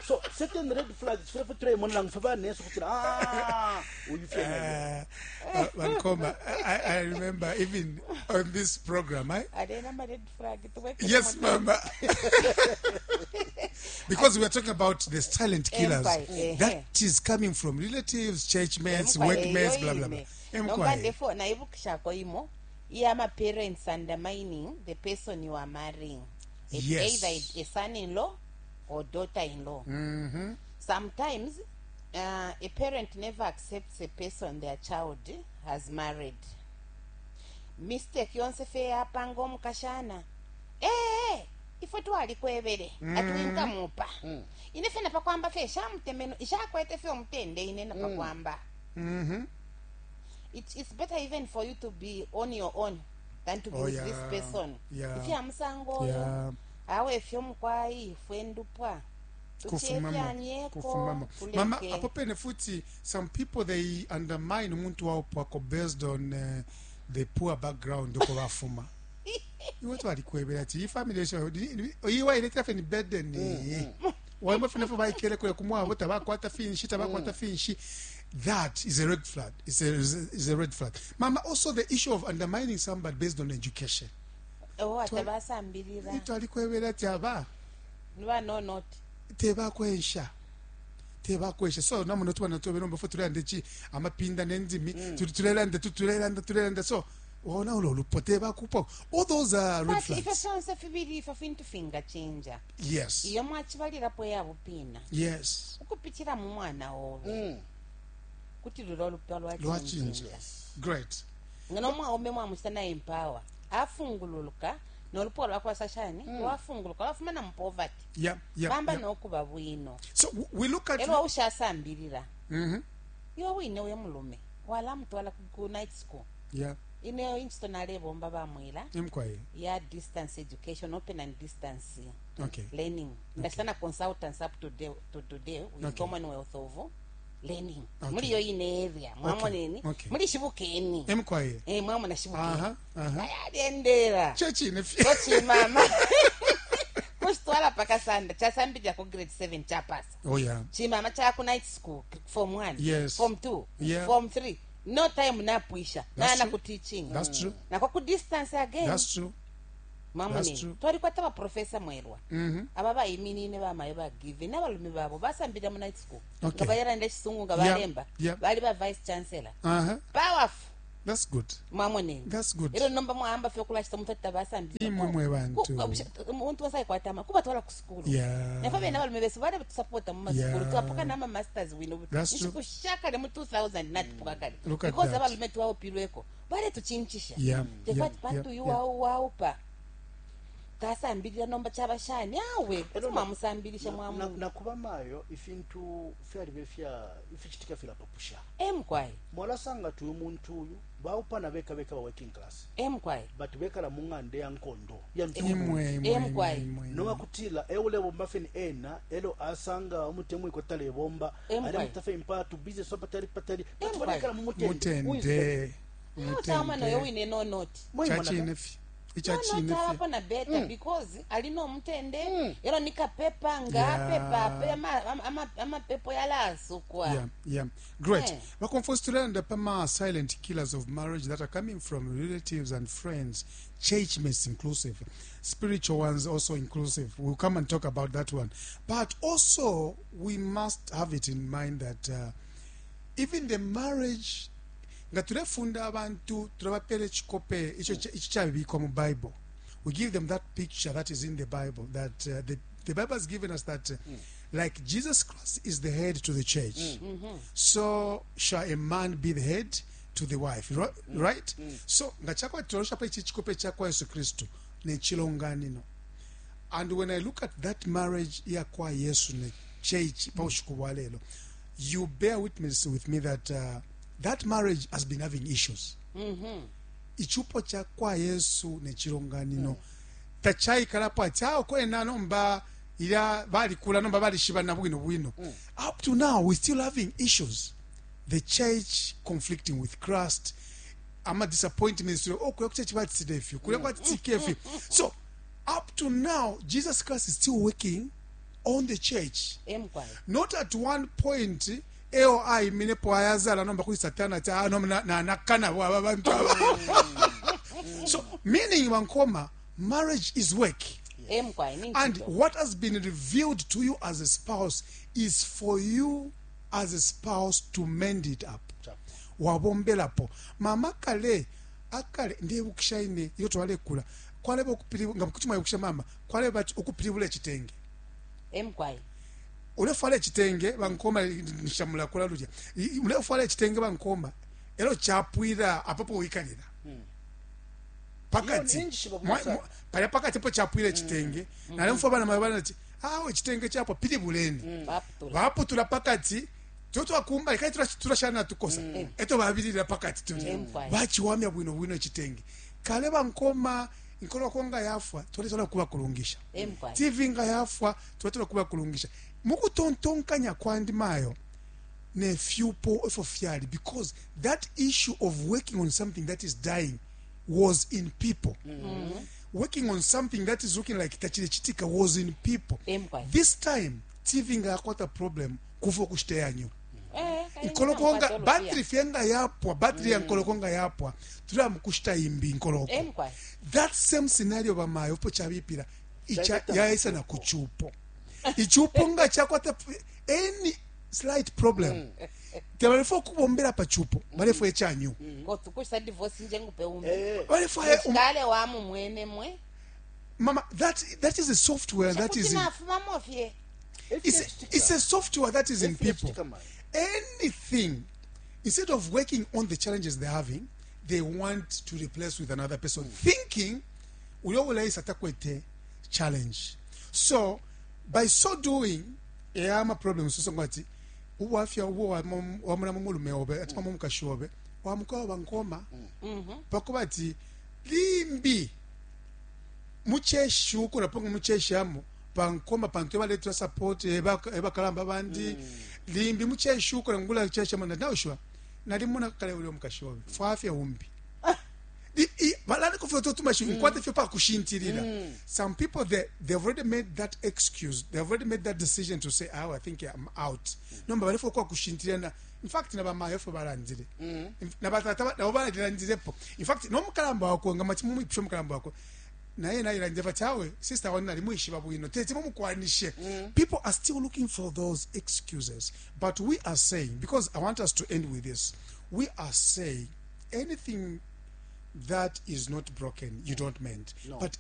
So certain red flags fwe fwe mona lang fwe neso kutsira ah uyu fye nayo. Uh, uh, Bankoma, I, I remember even on this program, I, Alena ma red flag tuweke Yes, mo- mama. Because we are talking about the silent killers Empire, eh, that is coming from relatives, churchmates, Emkwa workmates, eyo blah blah blah. ine. Nomba Emkwa, eh. ndefo naibukishako imo iya parents undermining the person you are marrying. It's Yes. either a son-in-law or daughter-in-law. Mhm. Sometimes uh, a parent never accepts a person their child has married. Mistake yonse fe yapanga omukashana ee ifwe twalikwebele mm. ati winkamupa mm. ine fe napakwamba fe shamutemeno ishakwete fe omutende ine napakwamba Mhm. it, it's better even for you to be on your own than to be Oh, with yeah. this person. Yeah. Ifya musango oyo Yeah. awe ifyo mukwayi ifwe ndupwa Kufumamo tuchefyanyeko kufumamo mama kuleke. Apo pene futi some people, they undermine umuntu waupwako based on uh, the poor background uko bafuma. Iwe twalikwebera ati iyi family iwa iletera fe ni burden waimba fene fo baikele kule kumwabo tabakwata finshi tabakwata finshi. That is a red flag. It's a, is a red flag, mama. Also the issue of undermining somebody based on education. Oh, atabasambilira. Twalikwebera ati aba nibanonoti tebakwensha tebakwensha. So namuno tubana tube nomba fo tulelanda chi amapinda nendimi tuli tulelanda tu tulelanda tulelanda so wona ulo lupo tebakupo. All those are red but ifyo flags. fyonse fibili ifyo fintu fingachinja Yes. iyo mwachibalirapo yabupina Yes. ukupichira mu mwana obe kuti lulo lupya lwachinja. lwachinja. Great. Ngano mwaume mwamuchita na empower afungululuka nolupwa lwakwasashani lwafunguluka lwafuma mu poverty yeah yeah, bamba yeah. nokuba bwino. So w- we look at Elo ushasambilira mm-hmm. iwe wine uye mulume walamutwala ku- ku night school. Yeah. Ineyo inchito nalebomba bamwila Emkwaye. Ya distance education, open and distance okay learning. Ndachita na consultants up to, day, to today with Okay. Commonwealth of learning Okay. Muli iyo ine area, mwamoneni? Okay. Muli Shibukeni. Emkwaye. Eh, mwamona Shibukeni? Aha, aha. Ayaliendera Chechine fye. kochimama kuchitwala pakasanda chasambilira ku grade seven, chapasa. Oh yeah. Chimama chaku night school, form one, Yes. form two, Yeah. form three, no time napwisha. That's Nana true. ku teaching. That's true. Nako ku distance again. That's true. That's Mamunini, true. twalikwata baprofesa Mwelwa, Mhm. aba bayiminine bamayo bagive n'abalume babo basambira mu night school, Okay. nga bayaranda echisungu, nga Yeah, balemba, yeah. bali ba vice chancellor. Uh-huh. Powerful. That's good. Mwamoneni? That's good. Ero nomba mwahamba fye okulashita omuntu ati tabasambira. Imwe mwe bantu. Omuntu wasaikwatama kubatwala ku sukulu. Yeah. Nafe bene abalume besu bale batusapota mu masukulu. Yeah. Twapuka n'ama masters wino. That's true. Nshikushakale mu two thousand natupuka kale, Look at because that. abalume twaupilweko baletuchinchisha. Yeah. Tekwati Yeah. pantu Yeah. uyu yeah. wau waupa tasambilira nomba kyabashani awe kuti mwamusambilisha. Na- Mwamu nakuba mayo ifintu fyalibe fya ifichitika filapapusha. Emkwai. Mwalasanga ti uyu muntu uyu baupana beka beka ba working class, Emkwai. but bekala mu ng'anda ya nkondo ya ntungu. Imwe, imwe, Emkwai. imwe, imwe. Nowakutila eulebomba feni ena elo asanga umutemwiko talebomba. Emkwai. Alemutafe impatu business patali patali, but Emkwai. balekala mu mutende. Who is better? Mutende. Utama noyo wine no noti. Chachine fye. Ichachine fye. Nonotawapo na better because alina omutende ero nikapepa nga Yeah. apepa ape ama- ama- ama- amapepo yalasukwa. Yeah, yeah. Great. Yeah. Bakomfo tulenda pama silent killers of marriage that are coming from relatives and friends, church mates inclusive, spiritual ones also inclusive. We'll come and talk about that one. But also, we must have it in mind that uh, even the marriage nga tulefunda abantu tulabapela echikope icho icho kyabikwa mu Bible. We give them that picture that is in the Bible, that uh, the, the Bible has given us that uh, like Jesus Christ is the head to the church, so shall a man be the head to the wife, ri- right? So nga chakwatolosha pa ichi chikope chakwa Yesu Kristu nechilonganino. And when I look at that marriage yakwa Yesu ne church paushiku bwa lelo, you bear witness with me that uh, that marriage has been having issues. Ichupo chakwa Yesu nechilonganino tachaikalapo ati awo kwena nomba ila balikula nomba balishibana bwino bwino. Up to now we still having issues, the church conflicting with Christ, ama disappointments, oh, kuya kuchurch batisile ifyo, kuya kwatitike ifyo. So up to now Jesus Christ is still working on the church. Emkwai. Not at one point eo ayiminepo ayazala nomba kuli Satana ati, "Ah, no, na- nanakana aba bantu aba." So meaning, bankoma, marriage is work. Emkwai ni And ntito. what has been revealed to you as a spouse is for you as a spouse to mend it up. Wabombelapo mama kale akale ndebukisha ine iyo twalekula kwaleba okupili nga kuti mwayibukisha mama kwaleba ati okupilibula ekitenge. Emkwai. Ulefwala ekitenge bankoma nshamulakula lulya I- ulefwala ekitenge bankoma ero kyapwira apapo wikalira pakati. Iyo ninji Mwa- babusa. mwa- palya pakati po kyapwira ekitenge nalemfa bana mabana ati awo ekitenge kyapwa pilibuleni. Baputula. Baputula pakati totwakumba kali tulashana tukosa eto babilira pakati tulya. Mm. Bachiwamya bwino bwino ekitenge kale bankoma nkoloko nga yafwa twaletola kuba kulungisha. Emkwai. T V nga yafwa twaletola kuba kulungisha mukutontonkanya kwandi mayo nefyupo efo fyali, because that issue of working on something that is dying was in people. Working on something that is looking like tachilechitika was in people. Emkwai. This time T V nga yakwata problem kufa okushita yanyu. Eh, Nkoloko nga battery fye nga yapwa, battery ya nkoloko nga yapwa tulaba mukushita imbi nkoloko. Emkwai. That same scenario bamayo po chabipira icha Chaita yaisa na kuchupo ichupo nga chakwata any slight problem tebalefo okubombera pa chupo balefo echanyu. Kotukushita divorce njengupe umbi. Eh, Balefo um, Kale wamu mwene mwe. Mama, that that is a software that is in, Nafumamo fye. it's, a, it's a software that is in people. Efilecitika mayo. Anything, instead of working on the challenges they're having, they want to replace with another person, thinking uyowulaisa takwete challenge. So by so doing eyama problem sosonga ati ubwafya ubwo wamuna mumulume obe ati mumukashi obe wamukawa bankoma pakuba ati limbi mucheshuko naponga mucheshamo. Pankoma pantu ebaletera support, eba- ebakalamba bandi limbi mucheshuko ngula cheshamana naushiwa nalimona kale uli omukashi wawe fwafye umbi. I- i- balani kufyo totumashi nkwate fyo pakushintilila. Some people, they, they've already made that excuse, they've already made that decision to say, "Oh, I think I'm out." Nomba balefo kwa kushintilila na in fact nabamayo fo balandile, nabatata nabo balilandilepo. In fact nomukalamba wako nga machimumwipusha omukalamba wako naye nayilandile bati awe sister wani nalimwishiba bwino tete mumukwanishe. People are still looking for those excuses, but we are saying, because I want us to end with this, we are saying anything that is not broken you don't mend. No. But